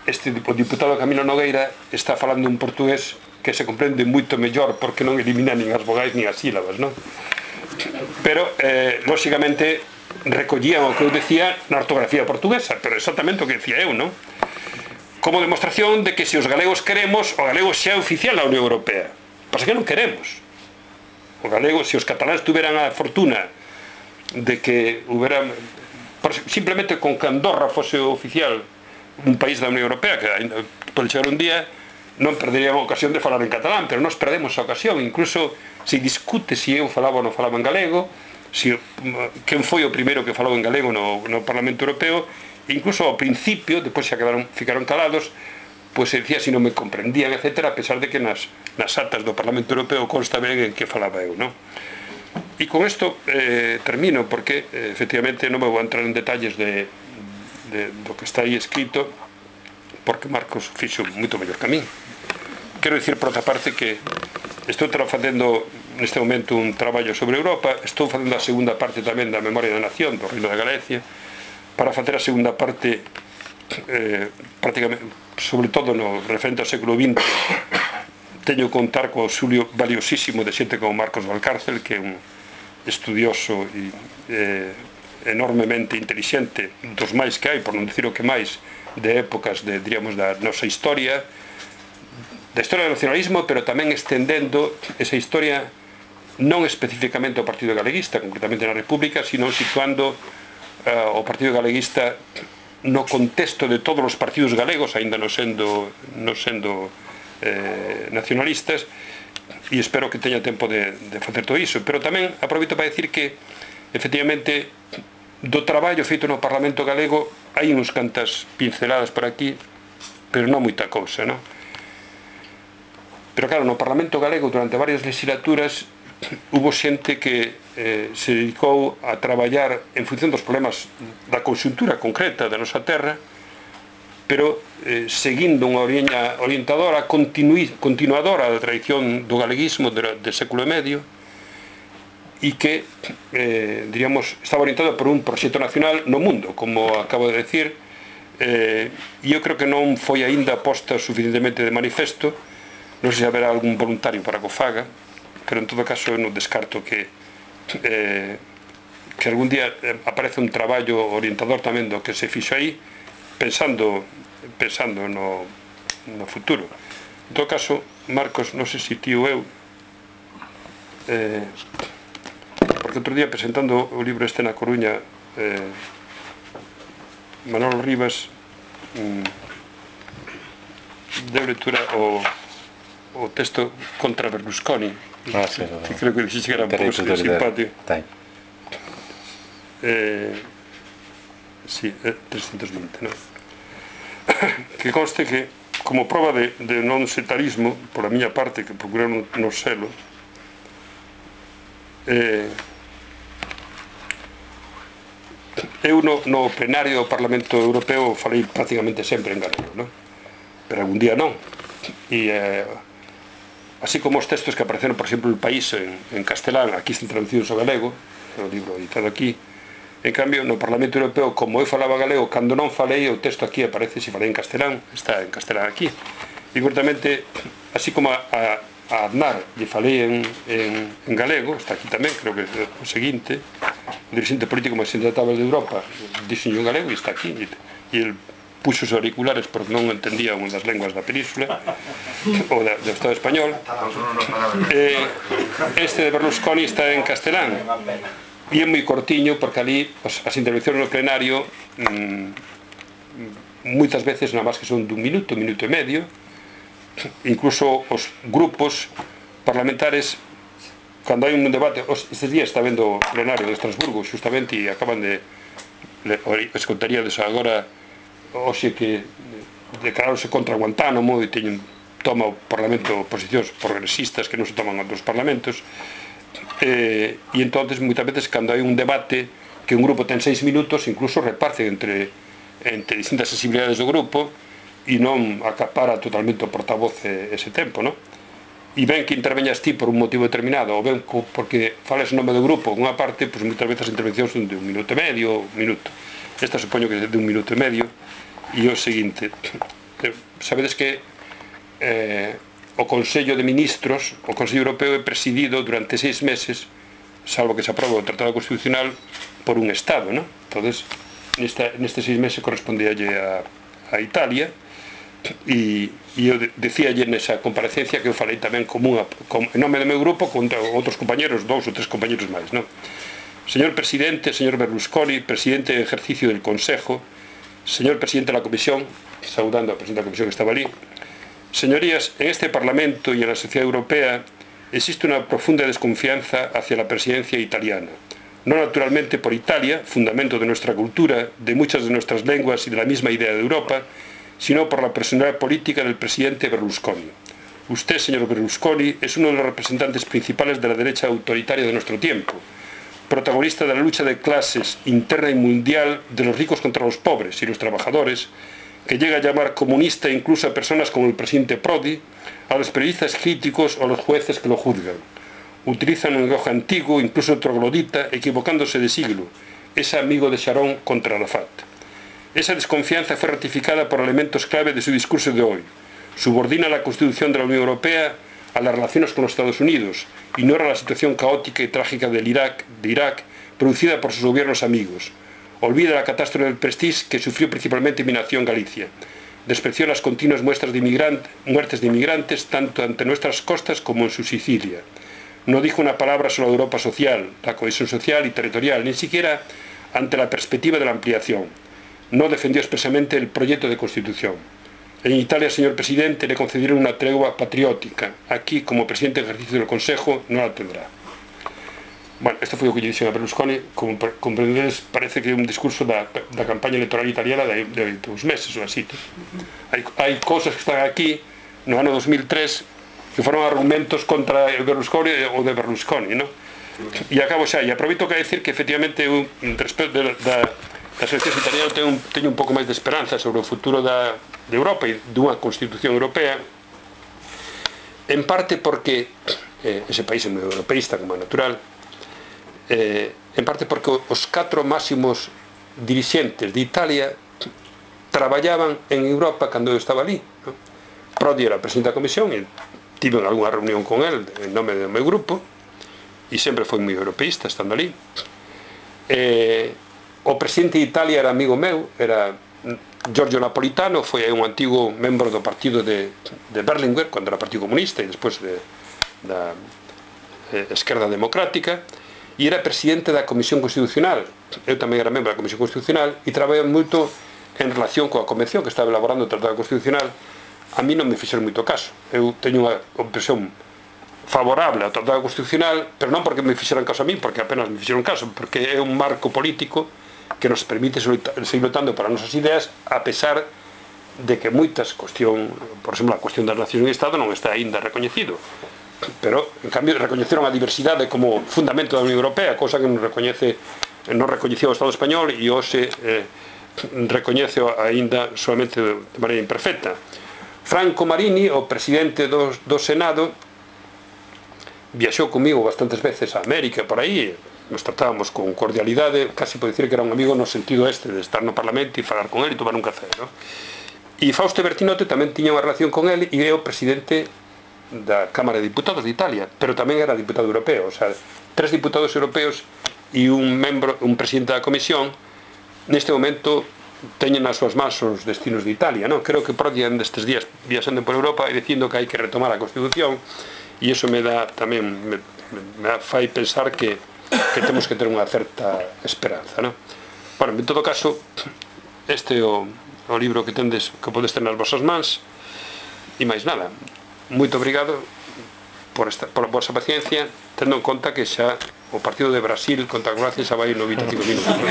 B: o diputado Camilo Nogueira está falando un portugués que se comprende moito mellor porque non elimina nin as vogais nin as sílabas, non? Pero, lóxicamente, recollían o que eu decía na ortografía portuguesa, pero exactamente o que decía eu, non? Como demostración de que se os galegos queremos, o galego xa é oficial na Unión Europea. Pasa que non queremos. O galego, se os cataláns tuveran a fortuna de que hubiera, simplemente con que Andorra fose oficial un país da Unión Europea, que pode chegar un día, non perderían a ocasión de falar en catalán, pero nós perdemos a ocasión. Incluso se discute se eu falaba ou non falaba en galego, quen foi o primeiro que falou en galego no Parlamento Europeo, incluso ao principio, depois xa ficaron calados, pois se dicía se non me comprendían, etc., a pesar de que nas actas do Parlamento Europeo consta ben en que falaba eu, non? E con isto termino, porque efectivamente non me vou entrar en detalles do que está aí escrito, porque Marcos fixo moito mellor que a min. Quero dicir, por outra parte, que estou facendo neste momento un traballo sobre Europa, estou facendo a segunda parte tamén da Memoria da Nación do Reino de Galicia, para facer a segunda parte prácticamente, sobre todo no referente ao século XX. Teño que contar co auxilio valiosísimo de xente como Marcos Valcárcel, que é un estudioso e enormemente intelixente, dos máis que hai, por non dicir o que máis, de épocas, diríamos, da nosa historia, da historia do nacionalismo, pero tamén estendendo esa historia non especificamente ao Partido Galeguista, concretamente na República, sino situando o Partido Galeguista no contexto de todos os partidos galegos, aínda non sendo nacionalistas, e espero que teña tempo de facer todo iso. Pero tamén aproveito para decir que, efectivamente, do traballo feito no Parlamento Galego hai uns cantas pinceladas por aquí, pero non moita cousa, non? Pero claro, no Parlamento Galego durante varias legislaturas hubo xente que se dedicou a traballar en función dos problemas da conxuntura concreta da nosa terra, pero seguindo unha liña orientadora, continuadora da tradición do galeguismo do século e medio, e que, diríamos, estaba orientado por un proxecto nacional no mundo, como acabo de decir, e eu creo que non foi aínda posta suficientemente de manifesto. Non sei se haberá algún voluntario para que o faga, pero en todo caso eu non descarto que algún día aparece un traballo orientador tamén do que se fixo aí, pensando no futuro. En todo caso, Marcos, non sei se ti ou eu, porque outro día presentando o libro este na Coruña, Manolo Rivas deu lectura o texto contra Berlusconi, que creo que dixiste que era un pouco simpático. Sí, 320, non? Que conste que, como prova de non setarismo, por a miña parte, que procurei non selo, eu no plenario do Parlamento Europeo falei prácticamente sempre en galego, non? Pero algún día non. E así como os textos que apareceron, por exemplo, El País en castelán, aquí están traducidos ao galego, o libro editado aquí. En cambio, no Parlamento Europeo, como eu falaba galego, cando non falei, o texto aquí aparece, se falei en castelán, está en castelán aquí. E, cortamente, así como a Aznar lle falei en galego, está aquí tamén, creo que é o seguinte, o dirigente político máis intratable de Europa, dixenlle en galego e está aquí. E el puxo os auriculares porque non entendía unha das lenguas da península ou do Estado español. Este de Berlusconi está en castelán e é moi cortiño porque ali as intervencións no plenario moitas veces nada máis que son dun minuto e medio. Incluso os grupos parlamentares, cando hai un debate, estes días está vendo o plenario de Estrasburgo justamente e acaban de escontaríades agora hoxe que declararse contra Guantánamo e toma o Parlamento posicións progresistas que non se toman outros parlamentos, e entonces moitas veces cando hai un debate que un grupo ten 6 minutos incluso reparten entre distintas sensibilidades do grupo e non acapara totalmente o portavoz ese tempo, non? E ben que interveñas ti por un motivo determinado ou ben porque fales o nome do grupo unha parte, pois moitas veces as intervencións son de 1 minuto e medio, esta supoño que é de 1 minuto e medio. E o seguinte, sabedes que o Consello de Ministros, o Consello Europeo é presidido durante 6 meses, salvo que se aprobe o Tratado Constitucional, por un Estado, non? Entonces, nestes 6 meses correspondíalle a Italia, e eu decíalle nesa comparecencia que eu falei tamén en nome do meu grupo con outros compañeros, 2 ou 3 compañeros máis, non? Señor Presidente, señor Berlusconi, Presidente en ejercicio del Consejo, señor Presidente de la Comisión, saudando al Presidente de la Comisión que estaba allí, señorías, en este Parlamento y en la sociedad europea existe una profunda desconfianza hacia la presidencia italiana, no naturalmente por Italia, fundamento de nuestra cultura, de muchas de nuestras lenguas y de la misma idea de Europa, sino por la personalidad política del presidente Berlusconi. Usted, señor Berlusconi, es uno de los representantes principales de la derecha autoritaria de nuestro tiempo, protagonista de la lucha de clases interna y mundial de los ricos contra los pobres y los trabajadores, que llega a llamar comunista incluso a personas como el presidente Prodi, a los periodistas críticos o a los jueces que lo juzgan. Utilizan un lenguaje antiguo, incluso troglodita, equivocándose de siglo. Es amigo de Sharon contra Arafat. Esa desconfianza fue ratificada por elementos clave de su discurso de hoy. Subordina la Constitución de la Unión Europea a las relaciones con los Estados Unidos, ignora la situación caótica y trágica de Irak, producida por sus gobiernos amigos. Olvida la catástrofe del Prestige que sufrió principalmente mi nación Galicia. Despreció las continuas muertes de inmigrantes tanto ante nuestras costas como en su Sicilia. No dijo una palabra sobre la Europa social, la cohesión social y territorial, ni siquiera ante la perspectiva de la ampliación. No defendió expresamente el proyecto de Constitución. En Italia, señor presidente, le concedieron una tregua patriótica. Aquí, como presidente en ejercicio del Consejo, no la tendrá. Bueno, este foi o que lle dixen a Berlusconi. Como comprendedes, parece que é un discurso da campaña electoral italiana de 2 meses ou así. Hai cousas que están aquí no ano 2003 que foron argumentos contra o Berlusconi ou de Berlusconi, non? E acabo xa, e aproveito que a decir que efectivamente eu, respecto das eleccións italianas, teño un pouco máis de esperanza sobre o futuro de Europa e dunha Constitución Europea, en parte porque ese país é moi europeísta, como é natural, en parte porque os 4 máximos dirixentes de Italia traballaban en Europa cando eu estaba ali, non? Prodi era o presidente da Comisión e tive algunha reunión con el en nome do meu grupo e sempre foi moi europeísta estando ali. O presidente de Italia era amigo meu, era Giorgio Napolitano, foi un antigo membro do partido de Berlinguer cando era Partido Comunista e despois da Esquerda Democrática, e era presidente da Comisión Constitucional. Eu tamén era membro da Comisión Constitucional e traballaba moito en relación coa Convención que estaba elaborando o Tratado Constitucional, a mí non me fixeron moito caso. Eu teño unha impresión favorable ao Tratado Constitucional, pero non porque me fixeran caso a mí, porque apenas me fixeron caso, porque é un marco político que nos permite seguir lutando para as nosas ideas, a pesar de que moitas cuestión, por exemplo, a cuestión das nacións e Estado non está aínda recoñecido, pero en cambio recoñeceron a diversidade como fundamento da Unión Europea, cousa que non recoñecía o Estado español e hoxe recoñece aínda solamente de maneira imperfecta. Franco Marini, o presidente do Senado, viaxou comigo bastantes veces a América, por aí, nos tratábamos con cordialidade, casi por dicir que era un amigo no sentido este de estar no Parlamento e falar con ele e tomar un café, ¿no? E Fausto Bertinotti tamén tiña unha relación con ele e é o presidente da Cámara de Diputados de Italia, pero tamén era diputado europeo, o sea, 3 diputados europeos e un presidente da Comisión. Neste momento teñen nas súas mans os destinos de Italia, ¿no? Creo que Prodi destes días viaxando por Europa e dicindo que hai que retomar a Constitución, e iso me dá tamén me fai pensar que temos que ter unha certa esperanza, ¿no? Bueno, en todo caso, este é o libro que podes ter nas vosas mans, e máis nada, moito obrigado por a vosa paciencia, tendo en conta que xa o partido de Brasil contra Croacia xa vai 95 minutos, ¿no?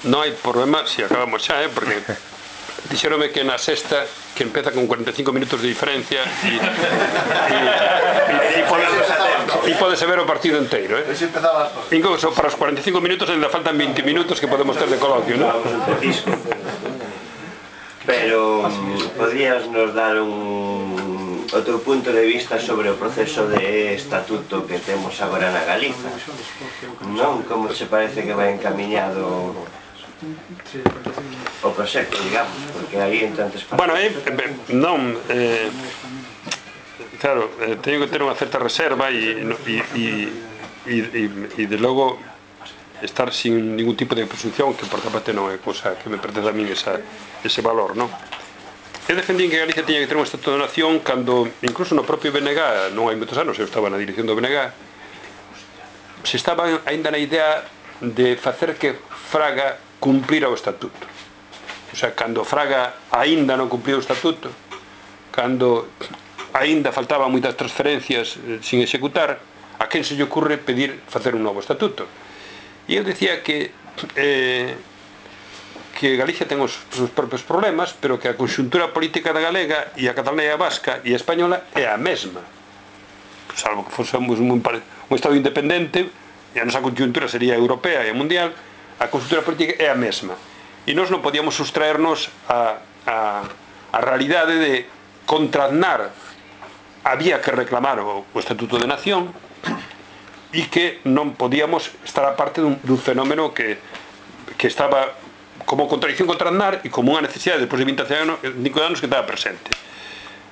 B: Non hai problema se acabamos xa, porque dixeronme que na sexta que empeza con 45 minutos de diferencia e podese ver o partido inteiro, incluso para os 45 minutos ainda faltan 20 minutos que podemos ter de coloquio, non?
D: Pero podrías nos dar outro punto de vista sobre o proceso de estatuto que temos agora na Galiza, non? Como se parece que vai encamiñado o proxecto, digamos, porque aí en tantas partes...
B: Bueno, non, claro, teño que ter unha certa reserva e de logo estar sin ningún tipo de presunción, que por parte non é cousa que me pertence a min ese valor, non? Eu defendín que Galicia tiña que ter un estatuto de nación cando, incluso no propio BNG, non hai moitos anos, eu estaba na dirección do BNG, se estaba aínda na idea de facer que Fraga cumplira o estatuto. O sea, cando Fraga aínda non cumpliu o estatuto, cando aínda faltaban moitas transferencias sin executar, a quen se lle ocurre pedir facer un novo estatuto? E eu decía que Galicia ten os seus propios problemas, pero que a conxuntura política da galega e a catalana e a vasca e a española é a mesma, salvo que fósemos un estado independente e a nosa conxuntura sería europea e mundial. A conxuntura política é a mesma e nós non podíamos sustraernos a realidade de contraznar. Había que reclamar o Estatuto de Nación e que non podíamos estar a parte dun fenómeno que estaba como contradicción contra Aznar e como unha necesidade despois de 25 anos que estaba presente.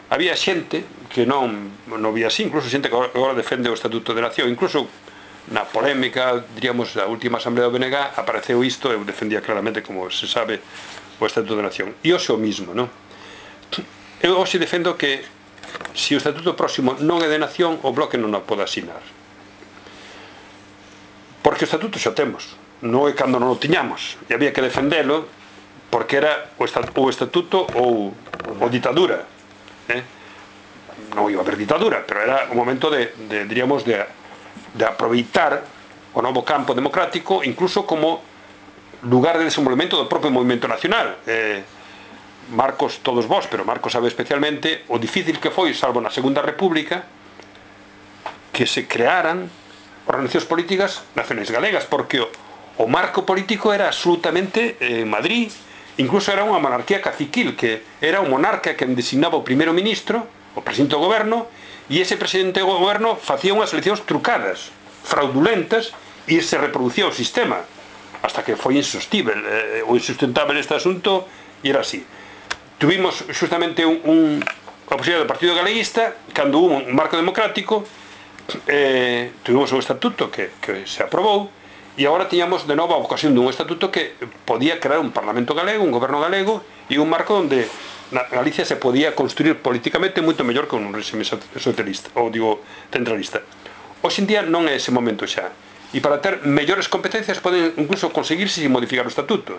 B: Había xente que non vía así, incluso xente que agora defende o Estatuto de Nación, incluso na polémica, diríamos, da última asamblea do BNG apareceu isto, eu defendía claramente, como se sabe, o Estatuto de Nación. E hoxe o mismo, non? Eu hoxe defendo que se o Estatuto próximo non é de Nación, o Bloque non o pode asinar. Porque o Estatuto xa temos, non é cando non o tiñamos, e había que defendelo, porque era o Estatuto ou ditadura. Non iba a haber ditadura, pero era o momento diríamos, de aproveitar o novo campo democrático incluso como lugar de desenvolvemento do propio movimento nacional. Marcos, todos vós, pero Marcos sabe especialmente o difícil que foi, salvo na Segunda República, que se crearan organizacións políticas nacionais galegas, porque o marco político era absolutamente Madrid, incluso era unha monarquía caciquil, que era o monarca quen designaba o primeiro ministro, o presidente do goberno, e ese presidente do goberno facía unhas eleccións trucadas, fraudulentas, e se reproducía o sistema, hasta que foi insustentável este asunto, e era así. Tuvimos justamente a posibilidade do Partido Galeguista, cando hubo un marco democrático, tuvimos un estatuto que se aprobou, e agora tiñamos de novo a ocasión dun estatuto que podía crear un Parlamento galego, un goberno galego, e un marco onde na Galicia se podía construir políticamente moito mellor que un réxime socialista, ou digo, centralista. Hoxe en día non é ese momento xa, e para ter mellores competencias poden incluso conseguirse sin modificar o estatuto.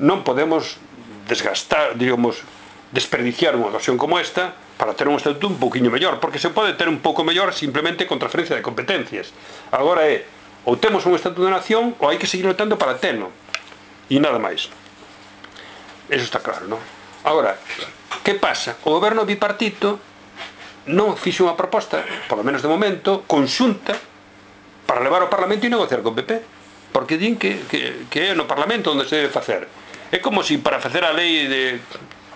B: Non podemos desgastar, digamos, desperdiciar unha ocasión como esta para ter un estatuto un pouquiño mellor, porque se pode ter un pouco mellor simplemente con transferencia de competencias. Agora é, ou temos un estatuto de nación ou hai que seguir lutando para telo, e nada máis. Eso está claro, non? Agora, que pasa? O goberno bipartito non fixo unha proposta, polo menos de momento, conxunta para levar ao Parlamento e negociar con PP, porque din que é no Parlamento onde se debe facer. É como se para facer a lei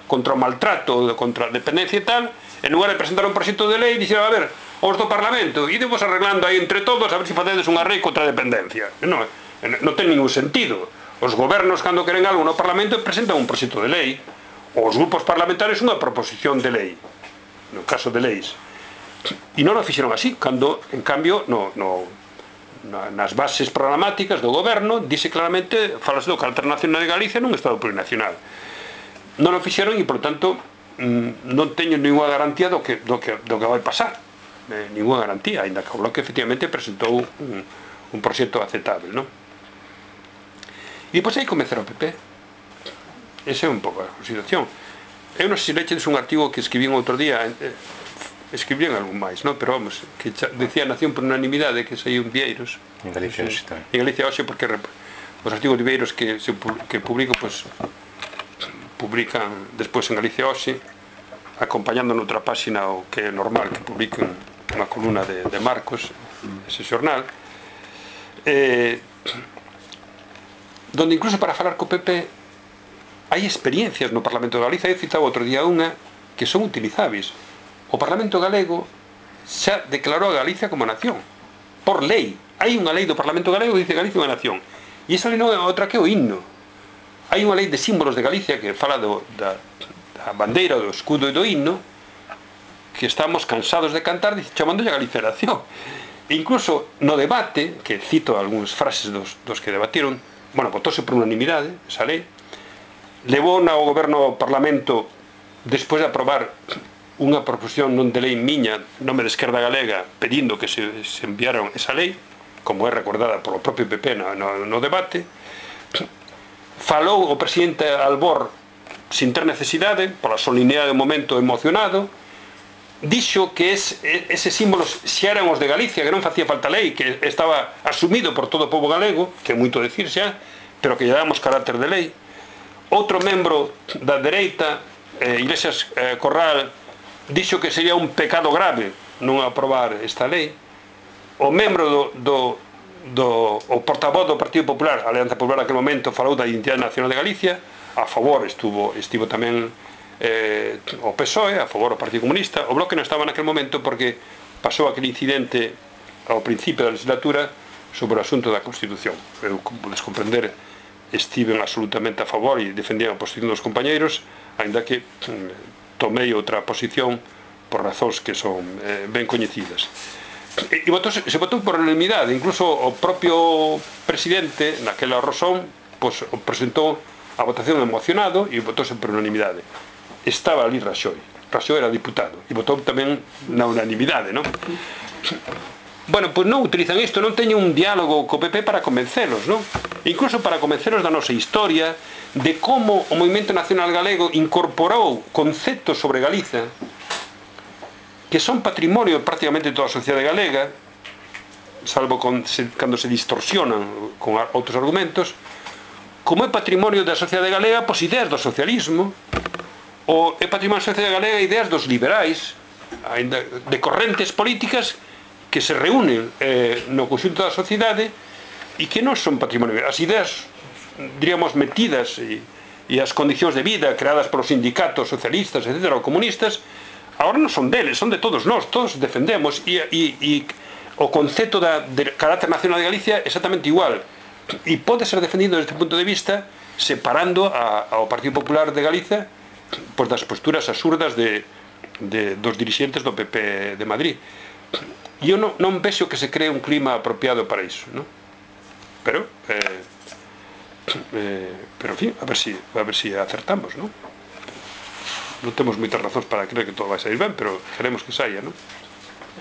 B: contra o maltrato, contra a dependencia e tal, en lugar de presentar un proxecto de lei, dixeron, a ver, os do Parlamento, idemos arreglando aí entre todos a ver se facedes unha lei contra a dependencia. Non ten ningún sentido. Os gobernos, cando queren algo no Parlamento, presentan un proxecto de lei, os grupos parlamentarios unha proposición de lei, no caso de leis. E non o fixeron así, cando, en cambio, nas bases programáticas do goberno dice claramente, falase do carácter nacional de Galicia nun estado plurinacional. Non o fixeron e, por tanto, non teño ninguna garantía do que vai pasar, ninguna garantía, ainda que o Bloque efectivamente presentou un proxecto aceptable, non? E depois aí comezar o PP. Esa é un pouco a situación. Eu non sei se leches un artigo que escribín outro día, escribían algún máis, non? Pero vamos, que decía Nación por unanimidade, que saiu en Vieiros.
C: En Galicia hoxe tamén.
B: En Galicia hoxe, porque os artigos de Vieiros que publico, pues, publican despois en Galicia hoxe, acompañando noutra páxina o que é normal que publiquen unha columna de Marcos, ese xornal, donde incluso para falar co PP hai experiencias no Parlamento de Galicia. Eu citaba outro día unha que son utilizáveis. O Parlamento galego xa declarou a Galicia como nación por lei. Hai unha lei do Parlamento galego que dice Galicia é unha nación, e esa lei non é outra que o himno. Hai unha lei de símbolos de Galicia que fala da bandeira, do escudo e do himno, que estamos cansados de cantar chamándolle a Galicia nación. E incluso no debate, que cito algúns frases dos que debatiron, bueno, votóse por unanimidade esa lei, levou ao goberno ao Parlamento despois de aprobar unha proposición non de lei miña, nome de Esquerda Galega, pedindo que se enviaron esa lei, como é recordada polo propio PP no debate. Falou o presidente Albor sin ter necesidade, pola solemnidade do momento emocionado, dixo que eses símbolos xa eran os de Galicia, que non facía falta lei, que estaba asumido por todo o povo galego, que é moito decir xa, pero que lle damos carácter de lei. Outro membro da dereita, Iglesias Corral, dixo que sería un pecado grave non aprobar esta lei. O membro o portavoz do Partido Popular, a Alianza Popular naquele momento, falou da identidade nacional de Galicia, a favor estivo tamén o PSOE, a favor o Partido Comunista. O Bloque non estaba naquele momento porque pasou aquele incidente ao principio da legislatura sobre o asunto da Constitución. Eu, como podes comprender, estiven absolutamente a favor e defendían a posición dos compañeiros, aínda que tomei outra posición por razóns que son ben coñecidas. E se votou por unanimidade. Incluso o propio presidente, naquela razón, presentou a votación emocionado e votouse por unanimidade. Estaba ali Raxoi era diputado e votou tamén na unanimidade, non? Bueno, pois non utilizan isto, non teñen un diálogo co PP para convencelos, non? Incluso para convencelos da nosa historia, de como o movimento nacional galego incorporou conceptos sobre Galiza que son patrimonio prácticamente de toda a sociedade galega, salvo cando se distorsionan con outros argumentos, como é patrimonio da sociedade galega, pois ideas do socialismo, ou é patrimonio da sociedade galega ideas dos liberais, de correntes políticas que se reúnen no conxunto da sociedade e que non son patrimonio. As ideas, diríamos, metidas e as condicións de vida creadas polos sindicatos socialistas, etc., ou comunistas, agora non son deles, son de todos nós, todos defendemos, e o concepto de carácter nacional de Galicia é exactamente igual, e pode ser defendido desde este punto de vista separando ao Partido Popular de Galicia pois das posturas absurdas dos dirixentes do PP de Madrid. E eu non vexo que se cree un clima apropiado para iso, non? Pero en fin, a ver si acertamos, non? non temos moitas razóns para creer que todo vai sair ben, pero queremos que saia, non?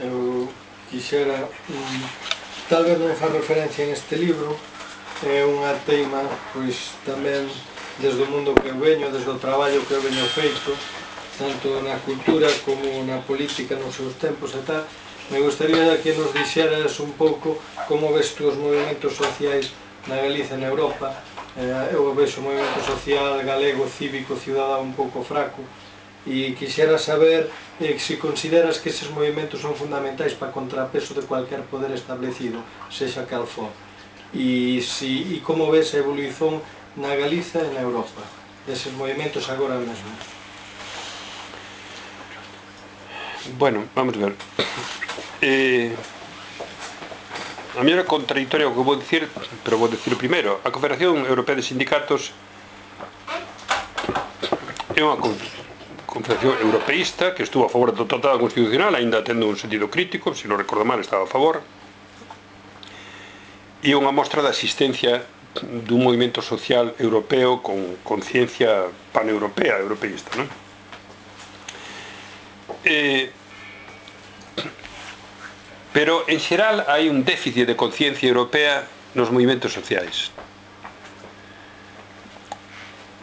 E: Eu quixera, tal vez non fa referencia en este libro, é unha teima, pois tamén desde o mundo que eu veño, desde o traballo que eu veño feito, tanto na cultura como na política nos seus tempos e tal. Me gustaría que nos dixeras un pouco como ves tú os movimentos sociais na Galiza e na Europa. Eu vexo o movimento social galego, cívico, cidadán un pouco fraco, e quixera saber se consideras que eses movimentos son fundamentais para contrapeso de cualquier poder establecido, sexa cal for, e como ves a evolución na Galiza e na Europa deses movimentos agora mesmo.
B: Bueno, vamos ver. A mí era contradictorio o que vou dicir, pero vou dicir primeiro. A Confederación Europea de Sindicatos é unha confederación europeísta que estuvo a favor do Tratado Constitucional, aínda tendo un sentido crítico, se non recordo mal estaba a favor, e unha mostra da existencia dun movimento social europeo con conciencia paneuropea, europeísta, non? Pero, en xeral, hai un déficit de conciencia europea nos movimentos sociais.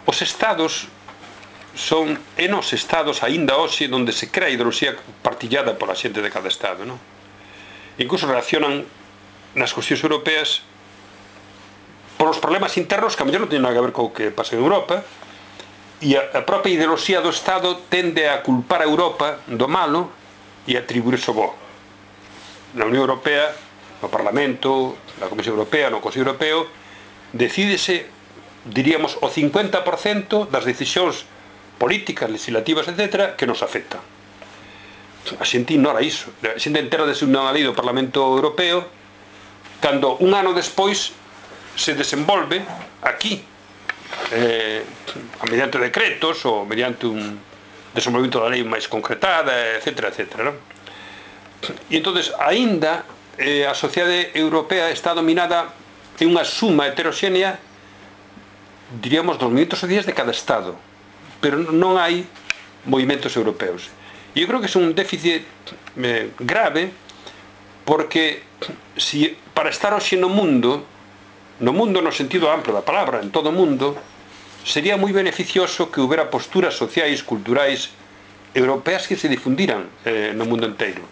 B: Os estados son nos estados aínda hoxe onde se crea a ideoloxía partillada pola xente de cada estado, non? Incluso reaccionan nas cuestións europeas por os problemas internos que a mellor non teñen nada que ver co que pasa en Europa, e a propia ideoloxía do estado tende a culpar a Europa do malo e atribuirse o bo. Na Unión Europea, no Parlamento, na Comisión Europea, no Consello Europeo, decídese, diríamos, o 50% das decisións políticas, legislativas, etc., que nos afectan. A xente ignora iso. A xente entera de unha lei do Parlamento Europeo cando un ano despois se desenvolve aquí mediante decretos ou mediante un desenvolvemento da lei máis concretada, etc., etc., non? E entonces, aínda a sociedade europea está dominada en unha suma heteroxénea, diríamos, dos movimentos sociais de cada estado, pero non hai movimentos europeos. E eu creo que é un déficit grave, porque para estar hoxe no mundo no sentido amplo da palabra, en todo o mundo, sería moi beneficioso que houbera posturas sociais, culturais, europeas que se difundiran no mundo inteiro,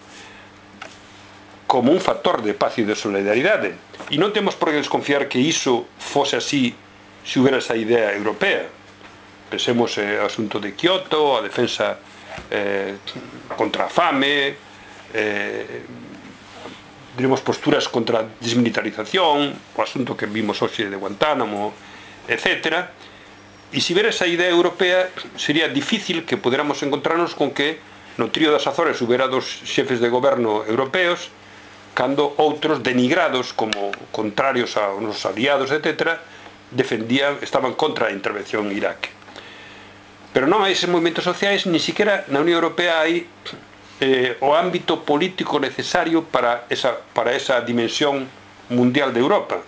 B: como un factor de paz e de solidaridade. E non temos por que desconfiar que iso fose así se houbera esa idea europea. Pensemos o asunto de Kyoto, a defensa contra a fame, diremos posturas contra a desmilitarización, o asunto que vimos hoxe de Guantánamo, etc. E se houbera esa idea europea, sería difícil que poderamos encontrarnos con que no trío das Azores houbera dos xefes de goberno europeos, cando outros denigrados como contrarios aos nosos aliados, etc., estaban contra a intervención en Irak. Pero non hai eses movimentos sociais, ni siquiera na Unión Europea hai o ámbito político necesario para esa dimensión mundial de Europa.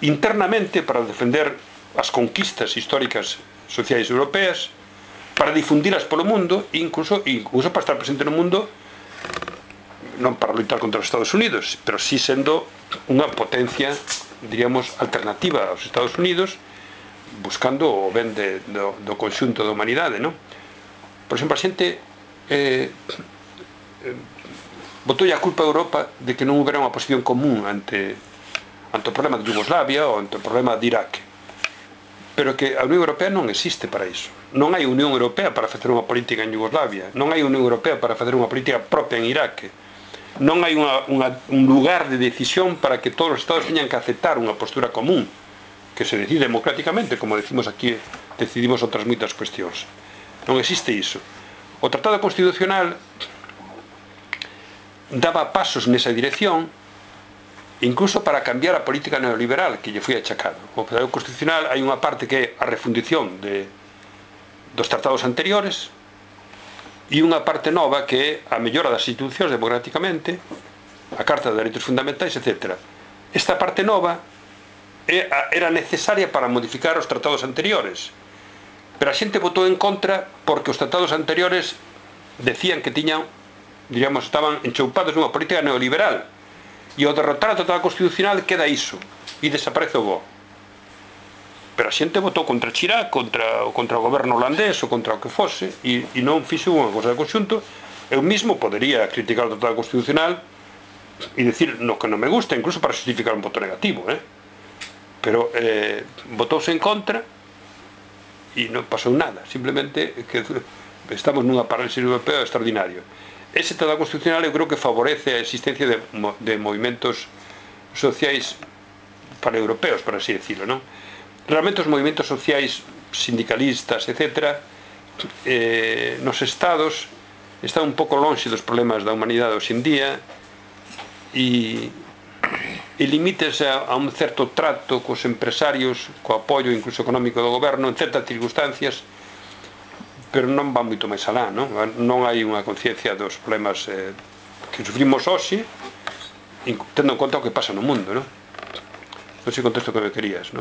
B: Internamente, para defender as conquistas históricas sociais europeas, para difundilas polo mundo, incluso para estar presente no mundo, non para loitar contra os Estados Unidos, pero sí sendo unha potencia, diríamos, alternativa aos Estados Unidos, buscando o ben do conxunto da humanidade, non? Por exemplo, a xente botou a culpa a Europa de que non houbera unha posición común ante o problema de Yugoslavia ou ante o problema de Irak, pero que a Unión Europea non existe para iso. Non hai Unión Europea para facer unha política en Yugoslavia, non hai Unión Europea para facer unha política propia en Irak, non hai un lugar de decisión para que todos os estados teñan que aceptar unha postura común que se decide democráticamente, como decimos aquí, decidimos outras moitas cuestións. Non existe iso. O Tratado Constitucional daba pasos nesa dirección, incluso para cambiar a política neoliberal que lle foi achacado. O Tratado Constitucional hai unha parte que é a refundición dos tratados anteriores e unha parte nova que é a mellora das institucións democráticamente, a Carta de Dereitos Fundamentais, etc. Esta parte nova era necesaria para modificar os tratados anteriores, pero a xente votou en contra porque os tratados anteriores decían que tiñan, diríamos, estaban enchoupados nunha política neoliberal, e ao derrotar o tratado constitucional queda iso, e desaparece o BO. Pero a xente votou contra Chirac, contra o goberno holandés ou contra o que fose, e non fixo unha cosa de conxunto. Eu mismo podería criticar o tratado constitucional e dicir no que non me gusta, incluso para justificar un voto negativo, pero votouse en contra e non pasou nada, simplemente que estamos nunha parálisis europea extraordinario. Ese tratado constitucional eu creo que favorece a existencia de movimentos sociais paneuropeos, por así decirlo, non? Realmente os movimentos sociais sindicalistas, etc., nos estados están un pouco lonxe dos problemas da humanidade hoxe en día e limítese a un certo trato cos empresarios, co apoio incluso económico do goberno en certas circunstancias, pero non va moito máis alá, non hai unha conciencia dos problemas que sufrimos hoxe, tendo en conta o que pasa no mundo, non sei o contexto que me querías,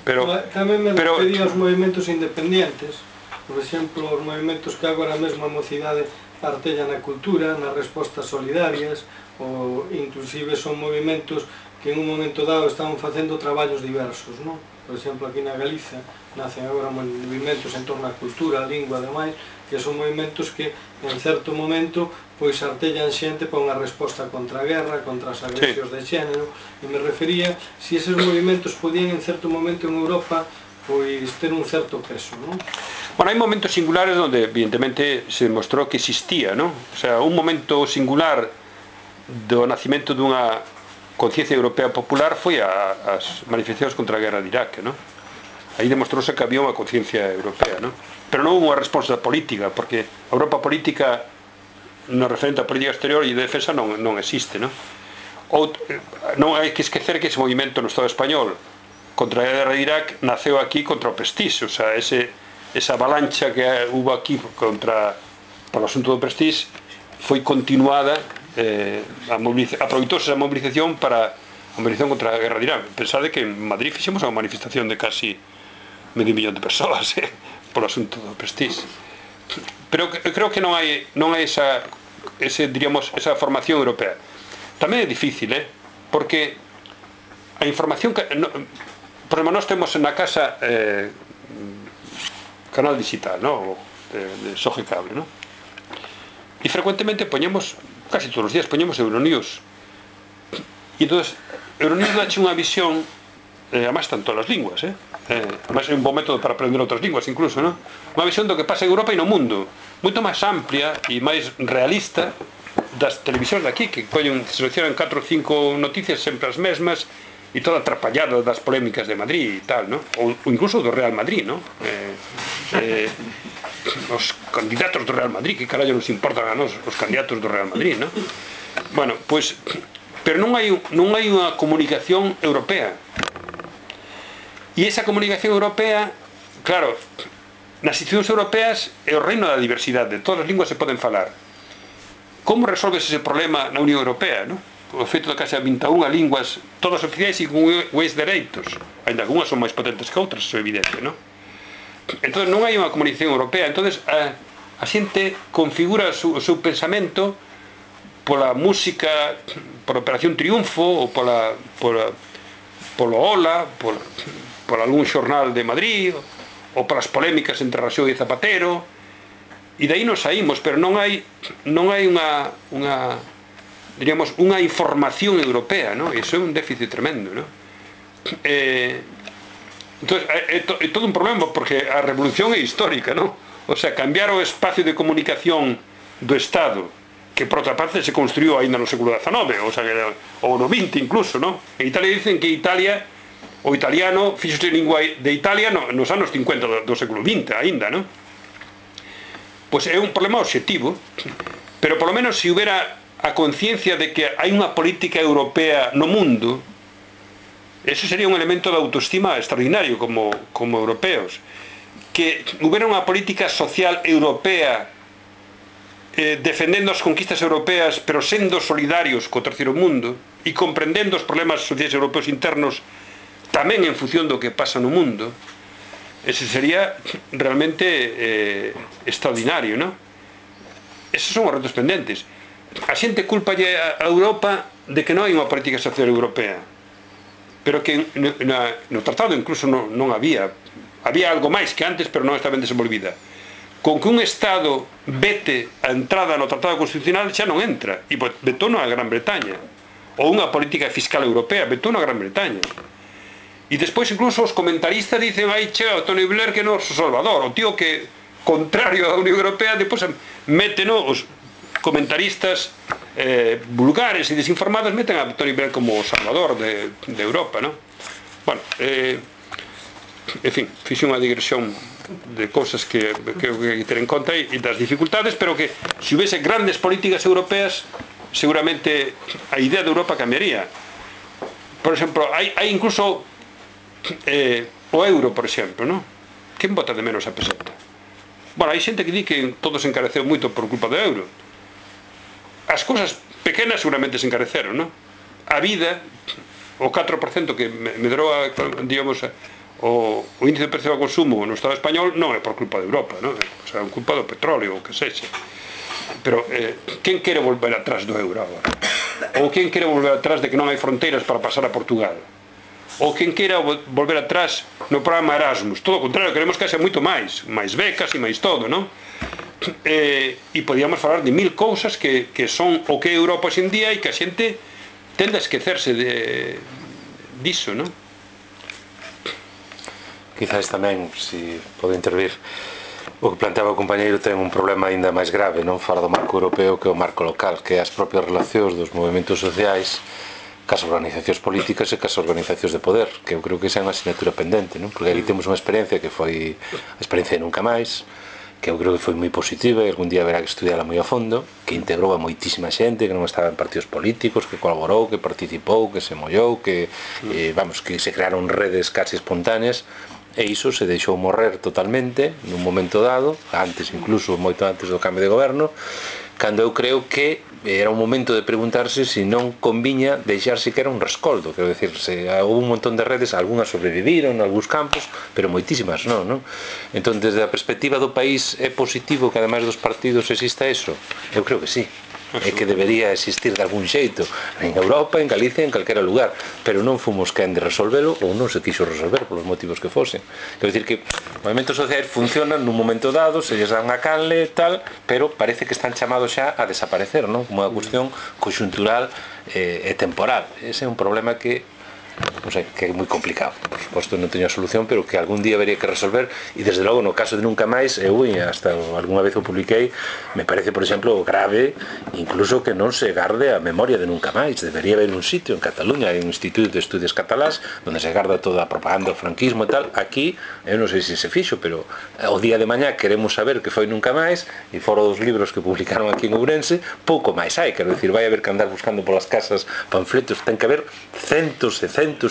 B: pero
E: tamén me refería aos movimentos independientes, por exemplo, os movimentos que agora mesmo a mocidade partella na cultura, nas respostas solidarias, ou inclusive son movimentos que en un momento dado están facendo traballos diversos, non? Por exemplo, aquí na Galiza nacen agora movimentos en torno á cultura, a lingua, ademais, que son movimentos que en certo momento pois artellan xente para unha resposta contra a guerra, contra as agresións de xénero, e me refería se eses movimentos podían en certo momento en Europa pois ter un certo peso, non?
B: Bueno, hai momentos singulares onde evidentemente se demostrou que existía, non? O sea, un momento singular do nacimento dunha conciencia europea popular foi as manifestacións contra a guerra de Irak, non? Aí demostrouse que había unha conciencia europea, non? Pero non houve unha resposta política, porque a Europa política no referente á política exterior e de defensa non existe, non? Non hai que esquecer que ese movimento no Estado español contra a guerra de Irak naceu aquí contra o Prestige, o sea, esa avalancha que hubo aquí polo asunto do Prestige foi continuada, aproveitouse a movilización para a movilización contra a guerra de Irán. Pensade que en Madrid fixemos unha manifestación de casi medio millón de persoas polo asunto do Prestige. Pero creo que non hai esa formación europea. Tamén é difícil, porque a información que por exemplo, nós temos na casa canal digital, de Soge Cable, e frecuentemente poñemos, casi todos os días poñemos Euronews, e entón Euronews dache unha visión, además están todas as linguas, además é un bom método para aprender outras linguas incluso, unha visión do que pasa en Europa e no mundo, moito máis amplia e máis realista das televisións de aquí, que seleccionan 4 ou 5 noticias sempre as mesmas e toda atrapallada das polémicas de Madrid e tal, ou incluso do Real Madrid, os candidatos do Real Madrid, que carallo nos importan a nós os candidatos do Real Madrid, bueno, pois, pero non hai unha comunicación europea, e esa comunicación europea, claro, nas institucións europeas é o reino da diversidade, todas as linguas se poden falar. Como resolves ese problema na Unión Europea, o feito de que xa 21 linguas, todas oficiais e con iguais dereitos, ainda algunhas son máis potentes que outras, iso é evidente, entón non hai unha comunicación europea, entón a xente configura o seu pensamento pola música, pola Operación Triunfo ou polo Ola, por algún xornal de Madrid ou polas polémicas entre Rajoy e Zapatero, e daí nos saímos, pero non hai diríamos, unha información europea, iso é un déficit tremendo, entón, é todo un problema, porque a revolución é histórica, o sea, cambiar o espacio de comunicación do Estado, que por outra parte se construiu ainda no século XIX, o sea, ou no XX incluso, en Italia dicen que Italia, o italiano fixose lingua de Italia nos anos 50 do século XX ainda, pois é un problema obxectivo, pero polo menos se houbera a conciencia de que hai unha política europea no mundo, eso sería un elemento de autoestima extraordinario como europeos, que houbera unha política social europea defendendo as conquistas europeas pero sendo solidarios co terceiro mundo e comprendendo os problemas sociais europeos internos tamén en función do que pasa no mundo, ese sería realmente extraordinario, non? Esos son os retos pendentes. A xente culpalle a Europa de que non hai unha política social europea, pero que no tratado incluso non había algo máis que antes, pero non está ben desenvolvida. Con que un Estado vete a entrada no tratado constitucional xa non entra, e vetou a Gran Bretaña, ou unha política fiscal europea, vetou a Gran Bretaña. E despois incluso os comentaristas dicen aí chega o Tony Blair que é noso salvador, o tío que contrario á Unión Europea depois meten os comentaristas vulgares e desinformados meten a Tony Blair como o salvador de Europa, non? Bueno, en fin, fixe unha digresión de cousas que hai que ter en conta e das dificultades, pero que se houvese grandes políticas europeas seguramente a idea de Europa cambiaría. Por exemplo, hai incluso o euro, por exemplo, non? Quen vota de menos a peseta? Bueno, hai xente que di que todo se encareceu moito por culpa do euro. As cousas pequenas seguramente se encareceron, non? A vida, o 4% que medrou, digamos, o índice de precio ao consumo no Estado español non é por culpa de Europa, non? O sea, é culpa do petróleo, o que sexa. Pero, quen quere volver atrás do euro agora? Ou quen quere volver atrás de que non hai fronteiras para pasar a Portugal? Ou quen queira volver atrás no programa Erasmus? Todo o contrario, queremos que haxa moito máis becas e máis todo, non? E podíamos falar de mil cousas que son o que é Europa hoxe en día e que a xente tende a esquecerse diso, non?
C: Quizás tamén, se pode intervir, o que planteaba o compañeiro ten un problema aínda máis grave, non fora do marco europeo que o marco local, que é as propias relacións dos movimentos sociais cas organizacións políticas e cas organizacións de poder, que eu creo que esa é unha asignatura pendente, non? Porque aquí temos unha experiencia que foi a experiencia de Nunca Máis, que eu creo que foi moi positiva e algún día haberá que estudiala moi a fondo, que integrou a moitísima xente que non estaba en partidos políticos, que colaborou, que participou, que se mollou, que que se crearon redes casi espontáneas, e iso se deixou morrer totalmente nun momento dado, antes incluso, moito antes do cambio de goberno, cando eu creo que era un momento de preguntarse se non conviña deixar siquera un rescoldo, quero dicir, houve un montón de redes, algunhas sobreviviron en algúns campos, pero moitísimas non? Entón, desde a perspectiva do país, é positivo que ademais dos partidos exista eso? Eu creo que sí, é que debería existir de algún xeito en Europa, en Galicia, en calquera lugar, pero non fomos quen de resolvelo ou non se quixo resolver polos motivos que fosen. Quero dicir que os movimentos sociais funcionan nun momento dado, se lles dan a canle tal, pero parece que están chamados xa a desaparecer, non? Como unha cuestión conxuntural e temporal. Ese é un problema que non sei, que é moi complicado, por suposto non teño a solución, pero que algún día habería que resolver, e desde logo no caso de Nunca Máis, eu hasta algunha vez o publiquei, me parece, por exemplo, grave incluso que non se garde a memoria de Nunca Máis. Debería haber un sitio en Cataluña, hai un instituto de estudios catalás onde se garda toda a propaganda, o franquismo e tal. Aquí, eu non sei se se fixo, pero o día de mañá queremos saber que foi Nunca Máis, e fora dos libros que publicaron aquí en Ourense, pouco máis hai, quero dicir, vai haber que andar buscando polas casas panfletos, ten que haber centos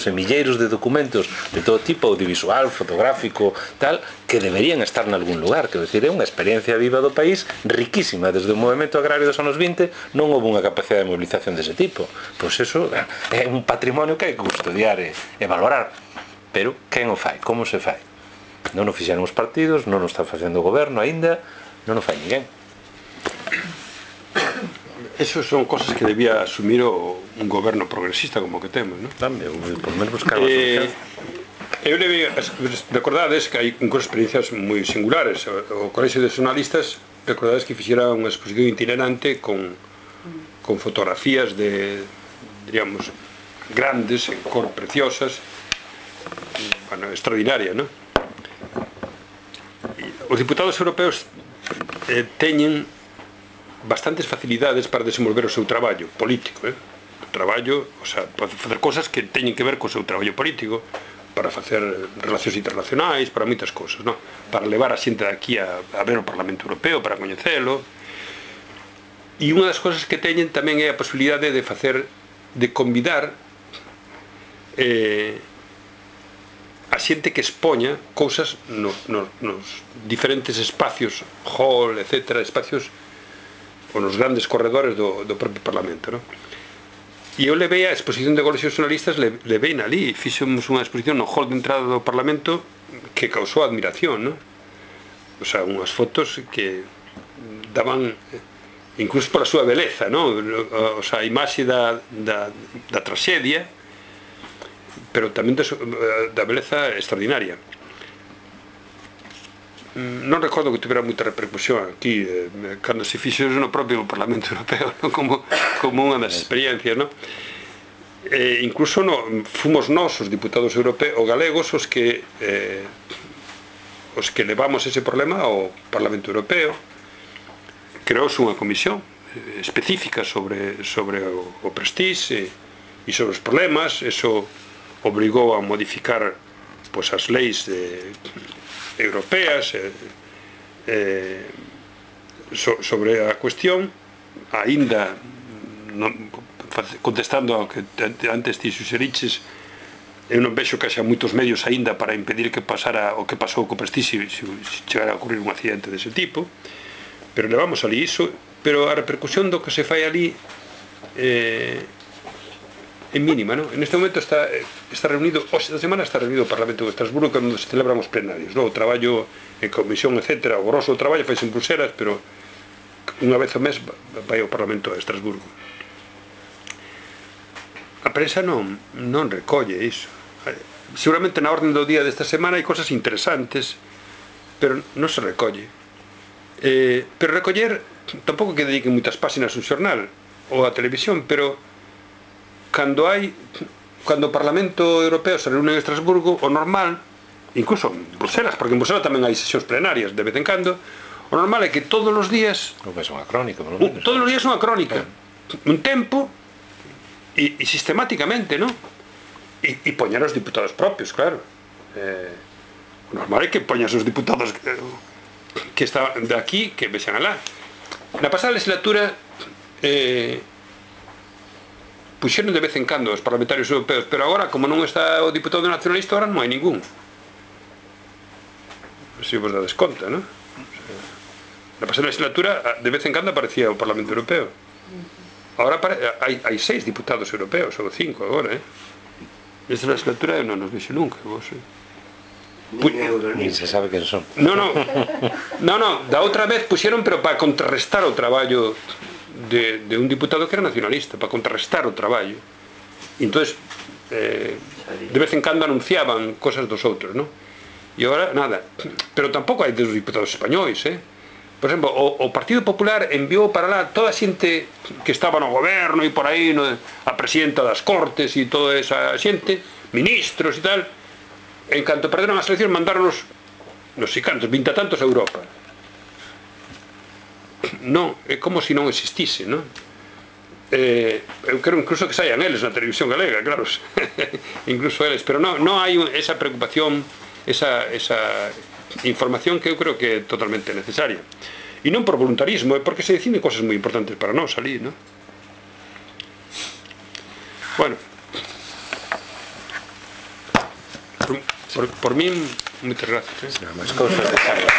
C: e milleiros de documentos de todo tipo, audiovisual, fotográfico, tal, que deberían estar en algún lugar. Quero dicir, é unha experiencia viva do país riquísima. Desde o movimento agrario dos anos 20 non houve unha capacidade de movilización dese tipo. Pois eso é un patrimonio que hai que custodiar e valorar. Pero quen o fai? Como se fai? Non o fixeron os partidos, non o está facendo o goberno aínda, non o fai ninguén.
B: Eso son cosas que debía asumir un goberno progresista como que temos, non?
C: Tamén, por menos buscar a solución.
B: Eu recordades que hai unhas experiencias moi singulares. O Colexio de Xornalistas, recordades que fixera unha exposición itinerante con fotografías de, diríamos, grandes, en cor preciosas, bueno, extraordinaria, non? Os diputados europeos teñen bastantes facilidades para desenvolver o seu traballo político, traballo, o sea, para facer cosas que teñen que ver co seu traballo político, para facer relacións internacionais, para moitas cousas, non? Para levar a xente aquí a ver o Parlamento Europeo, para coñecelo. E unha das cousas que teñen tamén é a posibilidade de facer, de convidar a xente que expoña cousas nos diferentes espacios, hall, etc., espacios ou nos grandes corredores do propio Parlamento, non? E eu levei a exposición de Colexios Xornalistas, levei ali, fixemos unha exposición no hall de entrada do Parlamento que causou admiración, non? O sea, unhas fotos que daban incluso pola súa beleza, non? O sea, a imaxe da traxedia, pero tamén da beleza extraordinaria. Non recordo que tivera moita repercusión aquí cando se fixo no propio Parlamento Europeo, non? Como unha das experiencias, non? Incluso fomos nós, os diputados europeos ou galegos, os que levamos ese problema ao Parlamento Europeo. Creouse unha comisión específica sobre o Prestige e sobre os problemas. Eso obrigou a modificar as leis europeas sobre a cuestión, aínda contestando ao que antes ti suxeriches. Eu non vexo que haxa moitos medios aínda para impedir que pasara o que pasou co Prestige se chegara a ocurrir un accidente dese tipo, pero levamos ali iso. Pero a repercusión do que se fai ali é mínima, non? En este momento está reunido, hoxe da semana está reunido o Parlamento de Estrasburgo, cando se celebran os plenarios, non? O traballo en comisión, etc. O grosso traballo faise en Bruselas, pero unha vez ao mes vai ao Parlamento de Estrasburgo. A prensa non recolle iso. Seguramente na orden do día desta semana hai cosas interesantes, pero non se recolle. Pero recoller, tampouco que dediquen moitas páxinas un xornal ou a televisión, pero cando o Parlamento Europeo se reúne en Estrasburgo, o normal, incluso en Bruselas, porque en Bruselas tamén hai sesións plenarias de vez en cando, o normal é que todos os días,
C: unha crónica, por lo menos.
B: Todos os días unha crónica, un tempo, e sistemáticamente, non? E poñer os diputados propios, claro. O normal é que poñas os diputados que están de aquí, que vexan alá. Na pasada legislatura puxeron de vez en cando os parlamentarios europeos, pero agora, como non está o diputado nacionalista, agora non hai ningún. Se vos dades conta, non? Na pasada legislatura, de vez en cando aparecía o Parlamento Europeo. Agora hai 6 diputados europeos, ou 5 agora, Nesta legislatura eu non nos vexo nunca, vos.
C: Nin se sabe quen son.
B: Non, da outra vez puxeron, pero para contrarrestar o traballo de un diputado que era nacionalista, para contrarrestar o traballo. E entonces de vez en cando anunciaban cosas dos outros, non? E agora, nada. Pero tampouco hai dos diputados españois, Por exemplo, o Partido Popular enviou para lá toda a xente que estaba no goberno e por aí, a presidenta das Cortes e toda esa xente, ministros e tal. En canto perderon as eleccións, mandaronos non sei cantos, 20 tantos a Europa. Non, é como se non existise, non? Eu quero incluso que saian eles na televisión galega, claro, incluso eles, pero non hai esa preocupación, esa información que eu creo que é totalmente necesaria. E non por voluntarismo, é porque se deciden cosas moi importantes para nós ali, non? Bueno, por min, moitas gracias.
C: Máis cousas de Carlos.